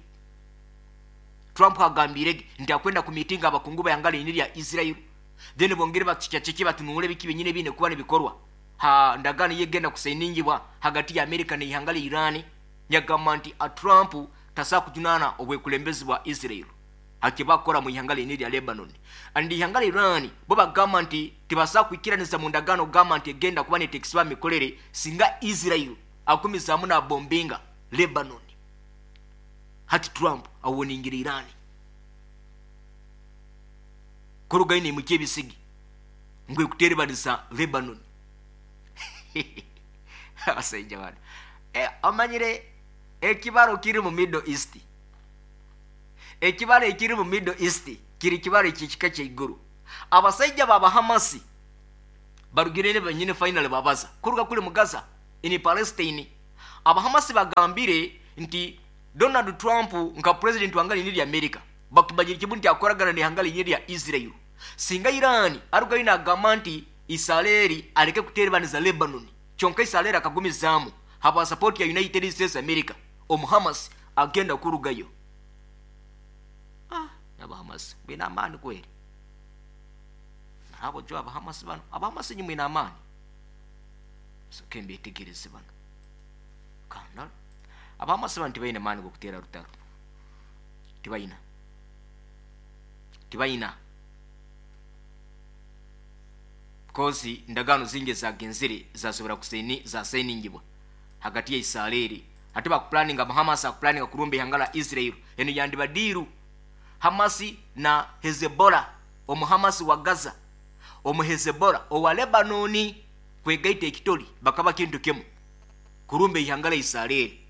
Trump agambire nti akwenda kumitinga abakungu ba lyenyini lya Israel, then bongere bakikyakiki batunule biki byenyini bine kuba nibikorwa ha ndagano yegenda kusainingibwa hagati ya America n'ihanga lya Iran. Yagamba nti a Trump tasa kujunana obwekulembezi bwa Israel hakibakora mu ihanga lyenyini lya Lebanon and ihanga lya Iran bo bagamba nti tibasa kwikiraniza mu ndagano gamba nti egenda kuba netekisiba mikolere singa Israel akumizamu na bombinga Lebanon. Hati Trump awoningira Iran kurugaine mu kyebisigi ngwe kuterebanisa Lebanon. Abasajja bano amanyire ekibaro kiri mu Middle East, ekibaro ekiri mu Middle East kiri kibaro ekikika kyaiguru. Abasajja baba Hamasi barugire ne banyine final babaza kuruga kuli mu Gaza in Palestine. Abahamasi bagambire nti Donald Trump nka president wanga lini lya America bakimanyire kimu nti akoragana n'ihanga linye lya Israel. Singa Iran arugayo nagamba nti Israeli aleke kuterebaniza Lebanon, kyonka Israeli akagumizaamu habwa support ya United States America, omuhamas agenda kurugayo. Abahamas mwine amaani kweri, nabo jo abahamas bano, abahamas nyi mwine amaani. Soke mbetegereze bano kanda abahamas bano tibaine maani gokutera rutaro, tibaina kozi ndagano zingi zagenzere zasobora kusaini zasainingibwa hagati ya Israeli. Ate bakuplaninga Hamas akuplaninga kurumba ihanga la Israel, eno yandiba diru Hamasi na Hezbollah, omuhamasi wa Gaza, omu Hezbollah owa Lebanoni kwegaita ekitoli bakaba kintu kimu kurumba ihanga la Israeli.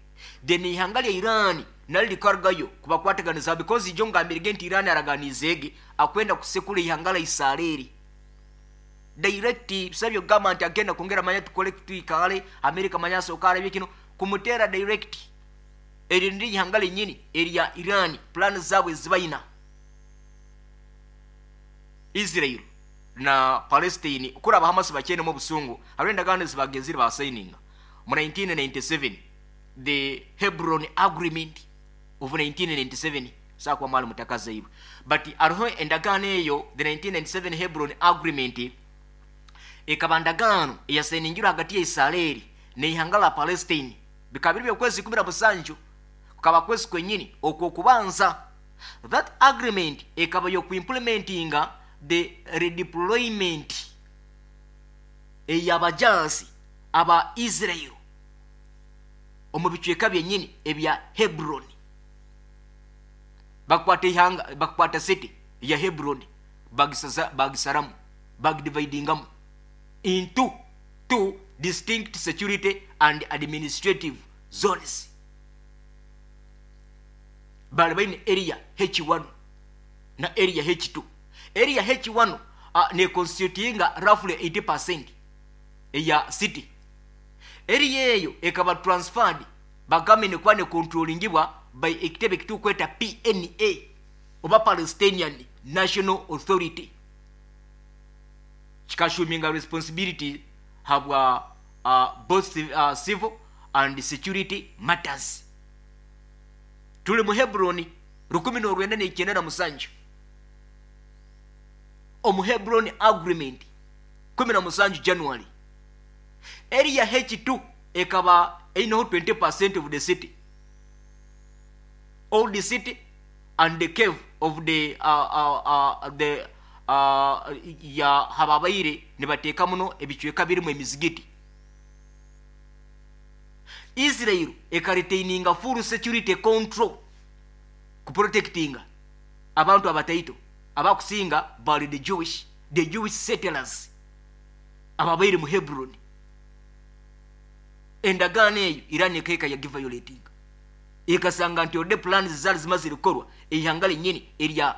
Then ihanga lya Iran nali likargayo kubakwataganiza, because ijo ngambirege nti Iran araganizege akwenda kusekula ihanga la Israeli direct. Bisabyo gamba nti agenda kwongera manya tukole tuikale America manya sokara bikino kumutera direct. Eri ndi ihanga lenyini erya Iran, plan zabwe zibayina Israel na Palestine kuri abahamas bakene mu busungu. Hariho endagaano zibagenzire basayininga mu 1997, the Hebron Agreement of 1997, sakuba mwali mutakazaibwe, but hariho endagaano eyo, the 1997 Hebron Agreement, ekaba ndagaano eyasayiningirwe hagati ya Israeli n'ihanga la Palestine bikaba biri by'okwezi 17 kukaba kwezi kwenyini okwo okubanza. That agreement ekaba yokuimplementinga the redeployment ey'abajansi aba Israel omu bicweka byenyini ebya Hebron. Bakwata ihanga, bakwata city ya Hebron, bagisaramu, bagidividingamu into two distinct security and administrative zones. Bali baine area H1 na area H2. Area H1 ne constitutinga roughly 80% eya city. Area eyo ekaba transferred bagambe ne kuba ne controllingibwa by ekitebe kitukweta PNA oba Palestinian National Authority, kikashuminga responsibility habwa both civil and security matters. Tuli mu Hebron 1997, omu Hebron Agreement 17 January. Area H2 ekaba eineho 20% of the city, all the city and the cave of the ya hababaire nibateeka muno ebicweka birimu emizigiti. Israel ekaretaininga full security control kuprotectinga abantu abataito abakusinga bali the Jewish settlers ababaire mu Hebron. Endagaano eyo Iran ekaika yagiviolatinga, ekasanga nti ode plans zali zimazire kukorwa ihanga lenyini erya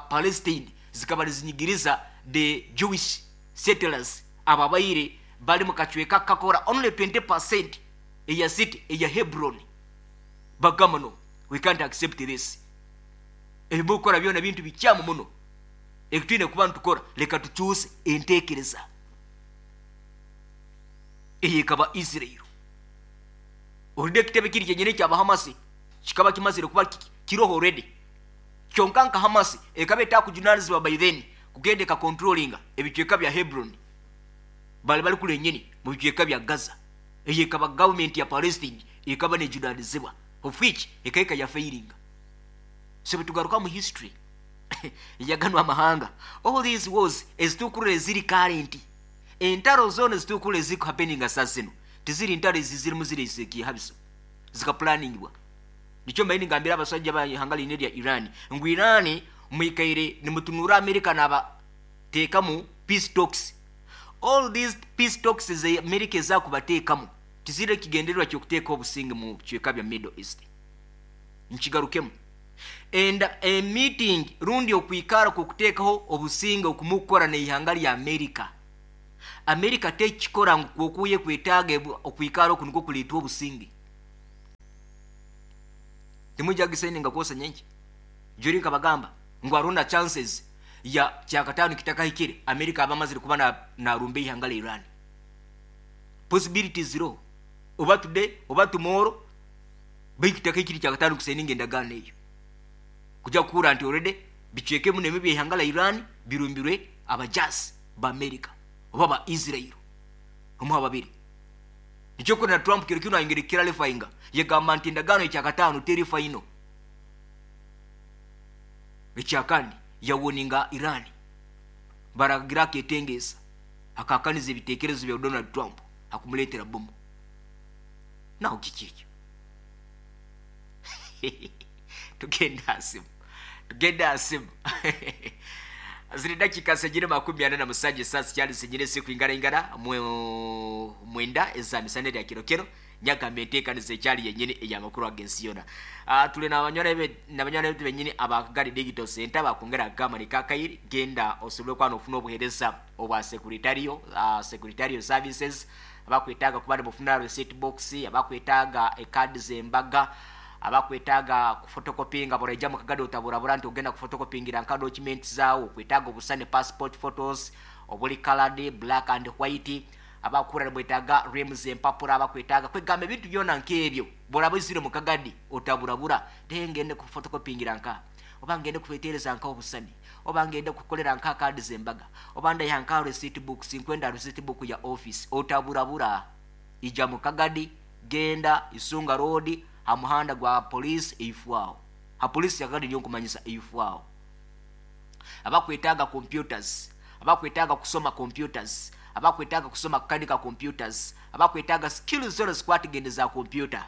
Palestine zikaba nizinyigiriza the Jewish settlers ababaire bali mu kacweka kakora only 20% eya city eya Hebron. Bagamba no, we can't accept this, ebimukora byona bintu bikyamu muno, ekitwine kuba ntukora, leka tukyuse entekereza. Eyo ekaba Israel. Olide ekitebe kiri kyenyini ekyabahamasi kikaba kimazire kuba kiroho already, kyonka nka Hamasi ekaba etakujunanizibwa by then kugenda ekacontrollinga ebicweka bya Hebron, bali bali kule nyini mu bicweka bya Gaza. Eyo ekaba government ya Palestine ekaba nejunanizibwa, of which ekaika ya failinga. So bwetugaruka mu history yaganwa amahanga, all these wars ezitukurira eziri current, entaro zona ezitukurira eziri happening saa zino tiziri ntaro ezizirimu ziri habiso zikaplaningibwa. Nikyo mbaine ngambira abasajja ba ihanga line lya Iran ngu Iran mwikaire nimutunura America nabateekamu peace talks. All these peace talks ze America ezakubateekamu tizire ekigendererwa ky'okuteeka obusinge mu bicweka bya Middle East. Nkigarukemu, enda a meeting rundi okwikara kukuteekaho obusinge okumukora n'ihanga lya America. America tekikora ngu kwokuye kwetaaga okwikara oku nikwo kuleetwa obusinge. Timwija kugisayininga kwosa nyenkya. Jori nkabagamba ngu hariho na chances ya kyakataano kitakahikire Amerika aba amazire kuba narumba eihanga lya Iran. Possibilities ziriho oba today oba tomorrow, baitu kitakahikire kyakataano kusayininga endagaano eyo. Kuja kuhurra nti already bicweka ebi n'ebi eby'eihanga lya Iran birumbirwe abajaasi ba Amerika oba ba Israel, omu ha babiri. Nikyo kurora na Trump kiro kinu ayongere kukiralifayinga, yagamba nti endagaano y'ekyakataano teri final. Ekyakandi yawoninga Iran baragira aketengeesa akahakaniza ebitekerezo bya Donald Trump hakumuleetera bomu. Naho kiki ekyo? Tugende ha simu. Tugende ha simu. Ziri dakika zenyine 47, saa zikyali zenyine zikwingaraingana 9 eza misana erya kiro kiro. Nyagamba enteekaniza ekyali yenyini ey'amakuru ag'ensi yoona. Tuli n'abanywani baitu benyini aba Kagadi Digital Center bakwongera kugamba ni kakairi genda osobole kuba nofuna obuheereza obwa secretarial services, abakwetaaga kuba nibafuna receipt box, abakwetaaga ekaadi z'embaga, abakwetaaga kufotokopinga. Buraija mu Kagadi otaburabura nti ogenda kufotokopingira nka documents zaawe, okwetaaga obusane passport photos obuli colored black and white, abakura nibwetaaga reams empapura, abakwetaaga kwegamba ebintu byona nk'ebyo. Buraba izire mu Kagadi otaburabura tengende kufotokopingira nka oba ngende kwetereza nka obusani oba ngende kukolera nka kaadi z'embaga oba ndaiha nka receipt books, nkwenda receipt book ya office, otaburabura. Ija mu Kagadi, genda Isunga Road ha muhanda gwa police eifwaho, ha police ya Kagadi niyo nkumanyisa eifwaho. Abakwetaaga computers, abakwetaaga kusoma computers, abakwetaaga kusoma kukanika computers, abakwetaaga skills zona zikwatagende za computer,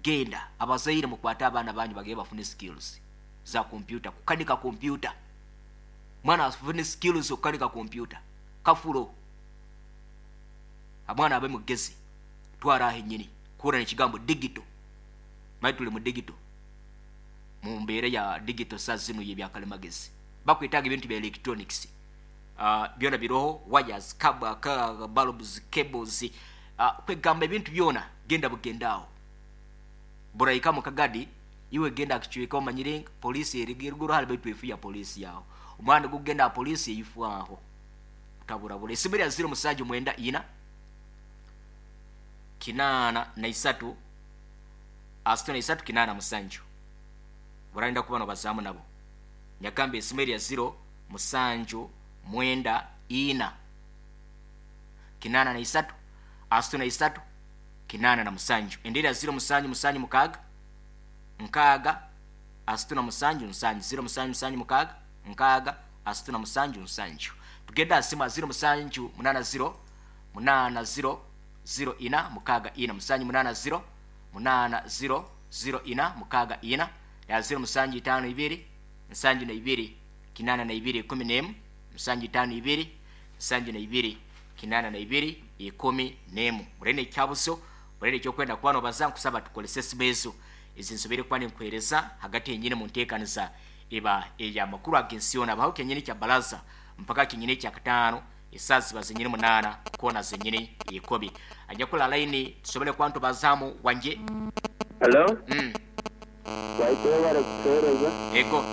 genda. Abazaire mukwate abaana banyu bagende bafune skills za computer, kukanika computer. Mwana afune skills okukanika computer kafulo, omwana abe mugezi. Twara aho enyini kuhura nekigambo digital, mali tuli mu digital, mu mbeera ya digital saa zinu y'ebyakalimagezi. Bakwetaaga ebintu bya electronics, byona biroho, wires, bulbs, cables, kwegamba ebintu byona. Genda bugenda aho buraika mu Kagadi, iwe genda akicweka omanyire polisi eriguru hali baitu efu ya polisi yaho omwana gugenda ha polisi eifu aho taburabura. Esimu ya 0 7 94 83 63 87 burarinda kuba nobazaamu nabo. Nyagamba esimu eri ya 0 7 94 83 63 87, endera ya 0 7 7 6 6 37 7, 0 7 7 6 6 37 7. Tugenda simu ya 0 7 8 0 8 0 0 4 6 4, 7 8 0 8 0 0 4 6 4, ya 0 7 5 2 72 82 11, 7 5 2 72 82 11. Murene ekyabuso, murene ekyokwenda kuba nobaza, nkusaba tukolese esimu ezo ezi nsobere kuba ninkuhereza hagati yenyini mu nteekaniza eba ey'amakuru ag'ensi yoona. Abaho kenyini kya baraza mpaka kenyini kya kataano, esaaha ziba zenyini 8 koona zenyini 10. Anyakula layini tusobole kuba ntubazaamu wanje. Hello? Waite webale kutuhereza. Ego.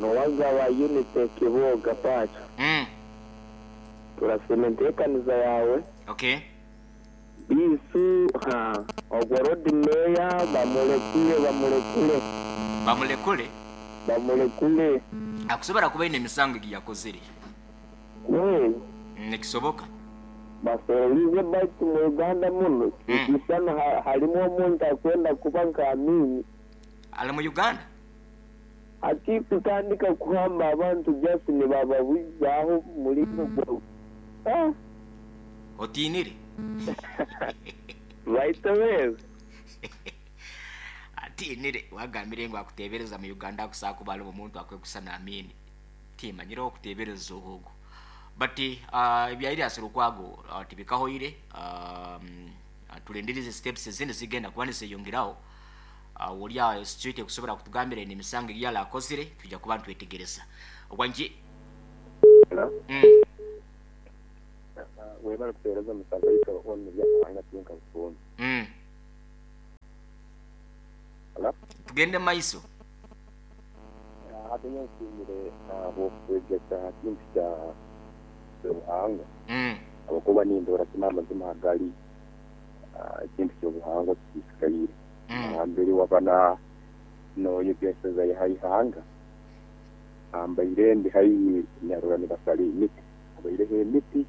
Nowaza wa Unity Kiboga Pacho. Turasiima enteekaniza yaawe. Biisu ha ogwo Lord Mayor bamurekule bamurekule. Bamulekule? Bamulekule. Akusobora kuba aine emisango egi yakozire. Nikisoboka. Bafererize baitu mu Uganda muno nikisana harimu omuntu akwenda kuba nka Amini. Ali mu Uganda? Hati kutandika kuhamba abantu just nibababuzaaho mulingo gwa Otiinire? Baitu wewe. Atiinire wagambire ngu akuteebereza mu Uganda akusobola kuba alimu omuntu akwekusana Amini. Timanyire okuteebereza ogwo. But ebya Erias Lukwago tibikahoire, tulindirize steps ezindi zigenda kuba nizeyongeraho. Oli aho security kusobora kutugambira ine emisango egi yali akozire, tujja kuba nitwetegereza. Wangi. Hello? Webale kutuhereza omusaza waitu ono byakahanga tinka bufuumi. Hello? Kampala. Tugende maiso. Hati nsiimire habw'okwegesa ha kintu kya Ruhanga. Habwokuba nindora kinu amazima agali ekintu ky'obuhangwa kisisikaire. Nambere waba noyegeseza ha ihanga, mbaire ndi haihi narora nibasara emiti, habaireho emiti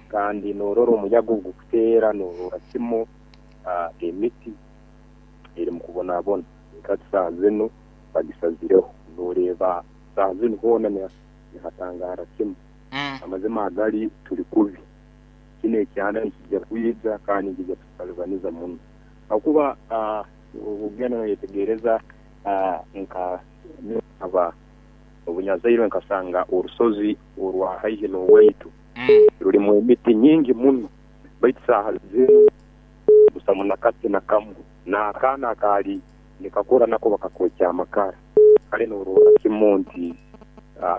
kandi norora omuyaga ogukuteera, norora kimu emiti eri mukubonabona. Hati saaha zinu bagisazireho, noreeba saaha zinu hoona nihatangaara kimu. Amazima agali tuli kubi, kinu ekyanda nikijja kwija kandi nikijja kututalibaniza muno. Habwokuba ogenda noyetegereza nka aba obunyazairwe nkasanga orusozi orwa haihi n'owaitu rulimu emiti nyingi muno, baitu saaha zinu busamu nakati na kamu, n'akaana akaali nikakura nako bakakwokya amakara. Kale norora kimu nti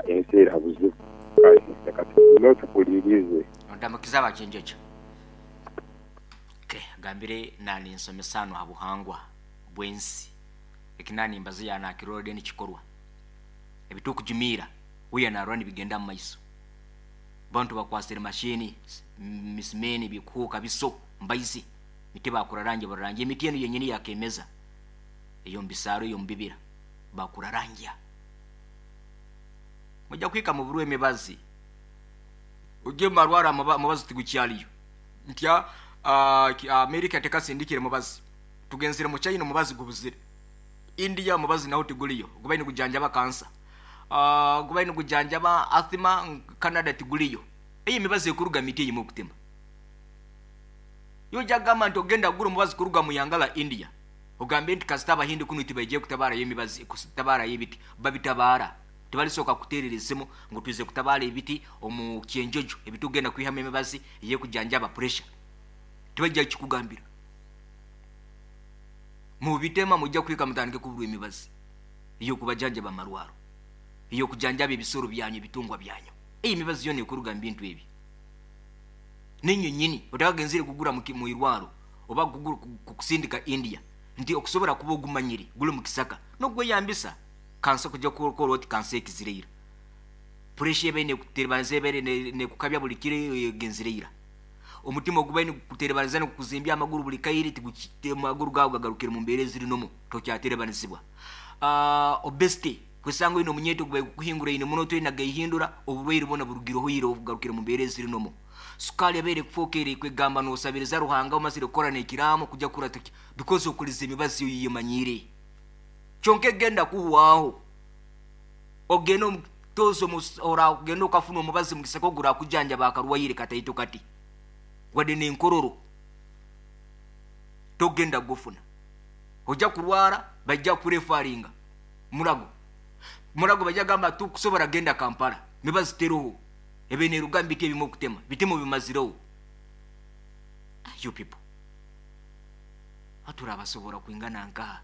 ensi eri ha buzibu. Kale leka tugume tukuliirize. Ondamukiza abakyenjojo. Okay, agambire naninsomesa hanu ha buhangwa bw'ensi. Eki nanimbaza yanakirora nikikorwa. Ebitukujumiira uya narora nibigenda mu maiso. Bantu bakwasire mashini, misimeni, bikuhuka biso, mbaizi. Miti bakuraranja bararanja emiti enu yenyini yakemeza. Eyo mbisaro eyo mbibira bakuraranja. Mujja kwika mu burwe emibazi. Ujye marwara mubazi tigukyaliyo. Ntya Amerika tekasindikire mubazi. Tugenzire mu China mubazi gubuzire. India mubazi nawo tiguliyo. Gubaine gujanjaba kansa. Gubaine gujanjaba asthma, Canada tiguliyo. Eyi mibazi ekuruga miti eyi mukutema. Yoja gamba nti ogenda gura mubazi kuruga mu yangala India. Ogambe nti kasita abahindi kuno tibaije kutabara emibazi, kutabara ebiti, babitabara. Tibalisoka kutererezemo ngo tuze kutabara ebiti omu kyenjojo, ebitugenda kwihama emibazi ye kujanjaba pressure. Tibajja kikugambira. Mu bitema mujja kwika mutandike kubura emibazi iyo kubajanjaba amarwaro, iyo kujanjaba ebisoro byanyu, ebitungwa byanyu. Eyi mibazi yone ekuruga mu bintu ebi. Ninyo nyini otakagenzire kugura mu irwaro oba kusindika India nti okusobora kuba ogumanyire guli mu kisaka nogweyambisa kansa kujja kukora oti kansa ekizireira. Pressure ebe kuterebanza ebe ne kukabya buli kire genzireira. Omutima ogubaine kuterebanza ne kuzimbya amaguru buli kairi tiguchite amaguru gawe gagarukire mu mbere ziri nomo tokyaterebanizibwa. Obesity kwesango ino munyeto gubaye kuhingura ino muno toyina gayihindura oburwaire bona burugiroho iro obugarukire mu mbere ziri nomo. Sukali abere kufokere kwegamba no sabiriza Ruhanga omazire kukora nekiramo kujja kurata because okuliza emibazi yiyemanyire. Kyonke genda kuhwaho. Ogenda omutozo ora ogenda okafuna omubazi mugisako gura kujanja bakarwaire kataito kati. Wade nenkororo. Togenda gufuna. Ojja kurwara bajja kurefaringa. Murago. Murago bajja gamba tukusobora genda Kampala. Mibazi teroho. Ebe neruga mbiti ebimu kutema. Bitimo bimazireho. You people. Atura abasobora kwingana nka.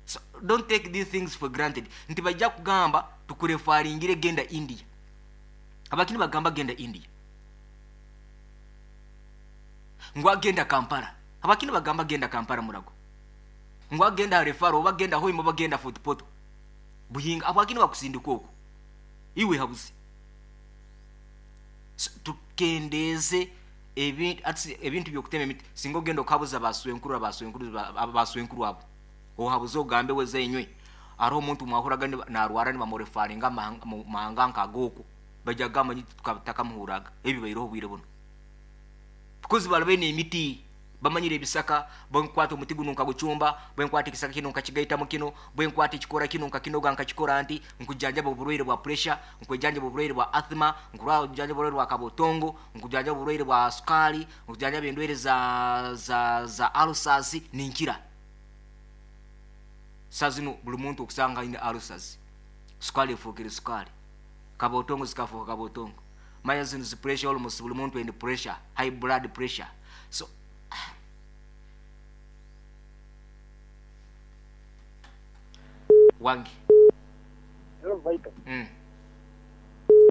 So don't take these things for granted. Nti bajja kugamba tukurefaringire genda India. Abakini bagamba genda India. Ngwa genda Kampala. Abakini bagamba genda Kampala murago. Ngwa genda refaro oba genda Hoima oba genda Fort Portal. Buhinga abakini bakusindika okwo. Iwe habuzi. So, tukendeze ebintu byokutema emiti. Singa ogenda okabuza baswenkuru baswenkuru abo. Ohabuze ogambe weze enywe. Ari omuntu mwahuraga narwara nibamurefaringa mahanga nkagoko. Bajja gamba nti tukatakamuhuraga. Ebi bairoho bwire buno. Because balabe emiti bamanyire ebisaka, bwenkwata omuti guno nkagucumba, bwenkwata ekisaka kino nkakigaita mu kino, bwenkwata ekikora kino nkakinoga nkakikora nti nkujanjaba oburwaire bwa pressure, nkujjanjaba oburwaire bwa asthma, nkujjanjaba oburwaire bwa kabotongo, nkujjanjaba oburwaire bwa sukali, nkujjanjaba endwaire za ulcers ninkira. Sazino buli muntu okusanga ine ulcers. Sukali efukire sukali. Kabotongo zikafuka kabotongo. Maya zino zi pressure almost buli muntu ende pressure, high blood pressure. So wangi. Hello Vital.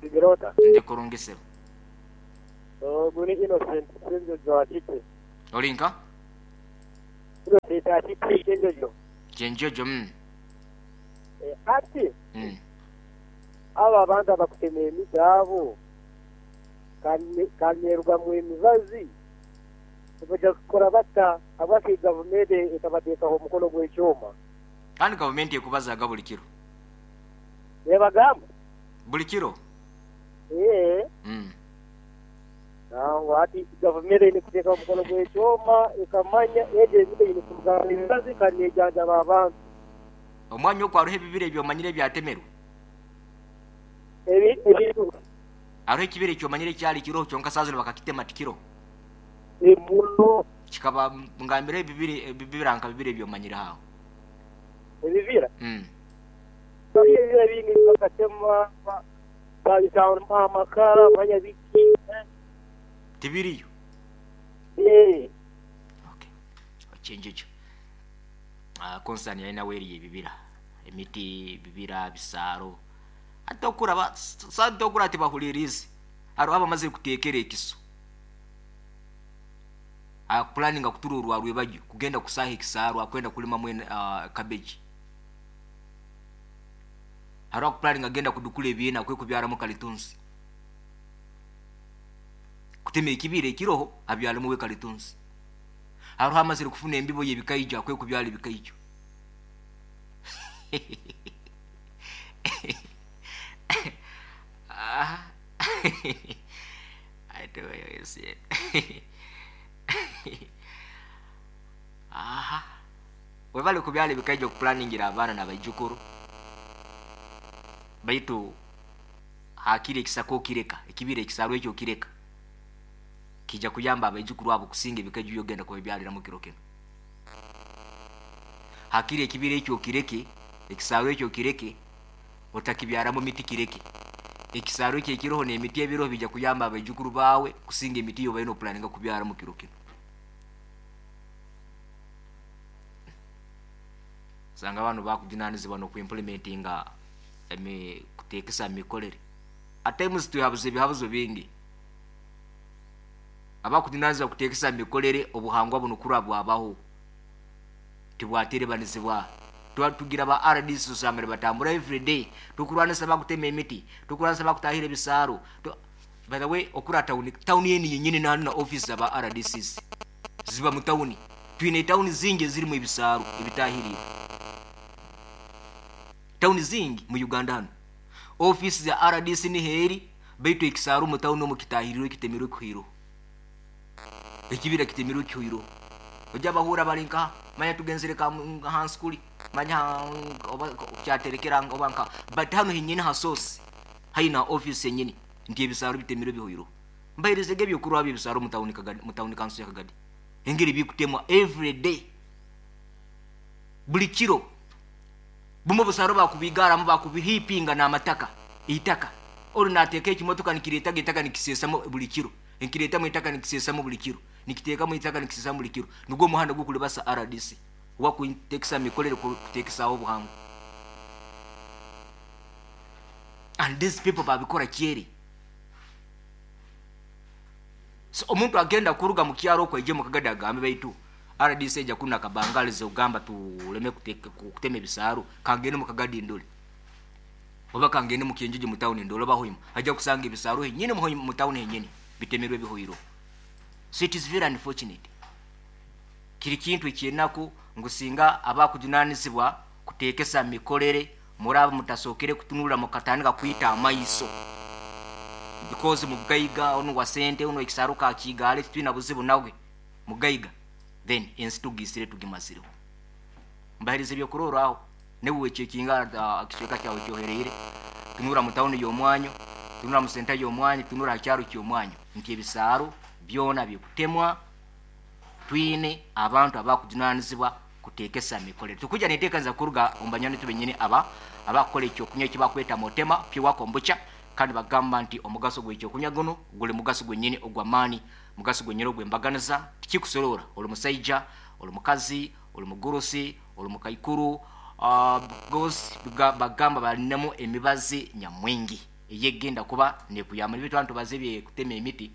Sigirota. Ndi kurungisero. Guni Innocent Sinjo jo atite. Olinka? Innocent atite Sinjo jo. Kyenjojo. Ati abo abantu abakutema emiti abo kandi nerugamu emibazi nibaija kukora bata habwaki gavumenti etabateekaho omukono gw'ekyoma? Kandi gavumenti ekubazaga buli kiro. Nebagamba? Buli kiro. Ee. Nangwa hati gavumenti eine kuteekaho omukono gw'ekyoma ekamanya egyo emiti eine kurugamu emibazi kandi neejanjaba abantu. Omwanya ogwo hariho ebibira ebi omanyire ebyatemerwe? Ebintu. Hariho ekibira eki omanyire ekyali kiroho kyonka saaha zinu bakakitema tikiroho? Muno. Kikaba ngambira ebibira ebibira nka bibiri ebi omanyire aho. Ebibira? Hariho ebibira bingi bakatema babitamu amakara manya biki. Tibiriyo. Ee. Okay. Okyenjojo. Concern yalina weeri ebibira. Emiti, bibira, bisaaro. Hati okuraba sante okura tibahulirize. Hariho abamazire kuteekera ekiso. Akupulaninga kutura orwarwebagyo kugenda kusaaha ekisaaro akwenda kulimamu cabbage. Hariho akupulaninga agenda kudukula ebiina akwe kubyaramu kalitunsi. Kutema ekibira ekiroho abyaremu we kalitunsi. Hariho amazire kufuna embibo y'ebikaijo akwe kubyara ebikaijo. Aha. Webale kubyala ebikaijo okupulaningira abaana n'abaijukuru. Baitu hakiri ekisaka okireka, ekibira ekisarwa ekyo okireka. Kija kuyamba abaijukuru abo kusinga ebikaijo byogenda kubabyaliramu kiro kino. Hakiri ekibira ekyo okireke, ekisarwa ekyo okireke, otakibyaramu miti kireke. Ekisarwa ekyo ekiroho n'emiti ebiroho bija kuyamba abaijukuru baawe kusinga emiti yobaire nopulaninga kubyaramu kiro kino. Osanga abantu bakujunanizibwa n'okuimplementinga kuteekesa mikorere. At times twehabuza ebihabuzo bingi. Abakujunanizibwa kuteekesa mikorere obuhangwa buno kurwa bwabaho tibwaterebanizibwa. Tugira ba RDC osanga nibatambura every day tukurwanisa bakutema emiti, tukurwanisa bakutahira ebisaaro. By the way, okura town yeni yenyini nahanu na office zaba RDCs ziba mu tawuni. Twine tawuni zingi ezirimu ebisaaro ebitahiriire. Tawuni zingi mu Uganda hanu office za RDC niho eri, baitu ekisaaro mu tawuni omu kitahiriirwe kitemerwe kihwireho. Ekibira kitemerwe kihwireho. Ojja bahura bali nka manya tugenzere ka hansi kuli manya oba kyaterekera oba nka, but hano henyini ha source haina office yenyini nti ebisaaro bitemerwe bihwireho. Mbaherezege ebyokurwa ebisaaro mu tawuni Kagadi, mu tawuni kanso ya Kagadi. Engeri bikutemwa every day. Buli kiro. Bumu obusaaro bakubigaramu bakubihipinga n'amataka, eitaka. Ori nateeka ekimotoka nikireetaga eitaka nikiseesamu buli kiro. Nikireetamu eitaka nikiseesamu buli kiro. Nikiteekamu eitaka nikiseesamu buli kiro. Nigwo omuhanda gw'okulibasa RDC. Oba kuteekesa mikorere kuteekesaaho obuhangwa. And these people babikora kyere. So omuntu agenda kuruga mu kyaro okwo aije mu Kagadi agambe baitu RDC ejja kuna kabangalize ogamba tuleme kutema ebisaaro, kangende mu Kagadi ndole. Oba kangende mu Kyenjojo mu tawuni ndole oba Hoima. Ajja kusanga ebisaaro henyini mu tawuni henyini bitemerwe bihwiro. So it is very unfortunate. Kiri kintu ekyenaku ngu singa abakujunanizibwa kuteekesa mikorere muraba mutasookere kutunula mukatandika kwita amaiso. Because mugaiga onu wa sente ono ekisaro ka kigale twina buzibu nawe mugaiga, then ensi tugisire tugimazireho. Mbaherize ebyokurorraho newe wechekinga ekicweka kyawe kyohereire, tunura mu tawuni y'omwanyo, tunura mu senta y'omwanyo, tunura ha kyaro ky'omwanyo nti ebisaaro byona bikutemwa. Twine abantu abakujunanizibwa kuteekesa mikorere. Tukuja neteekaniza kuruga omu banywani benyini aba abakukola ekyokunywa ekibakweta Motema Pure Kombucha, kandi bagamba nti omugaso gw'ekyokunywa guno guli mugaso gwenyini ogw'amaani, mugaso gwenyini ogw'embaganiza. Tikikusorora oli musaija, oli mukazi, oli mugurusi, oli mukaikuru, gosi bagamba balinemu emibazi nyamwingi eyegenda kuba nekuyamba. Nibyo twantu baze kutema emiti,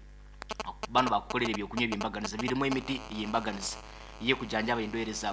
bano bakukolera ebyokunywa ebyembaganiza birimu emiti ey'embaganiza eyekujanjaba endwaire za buli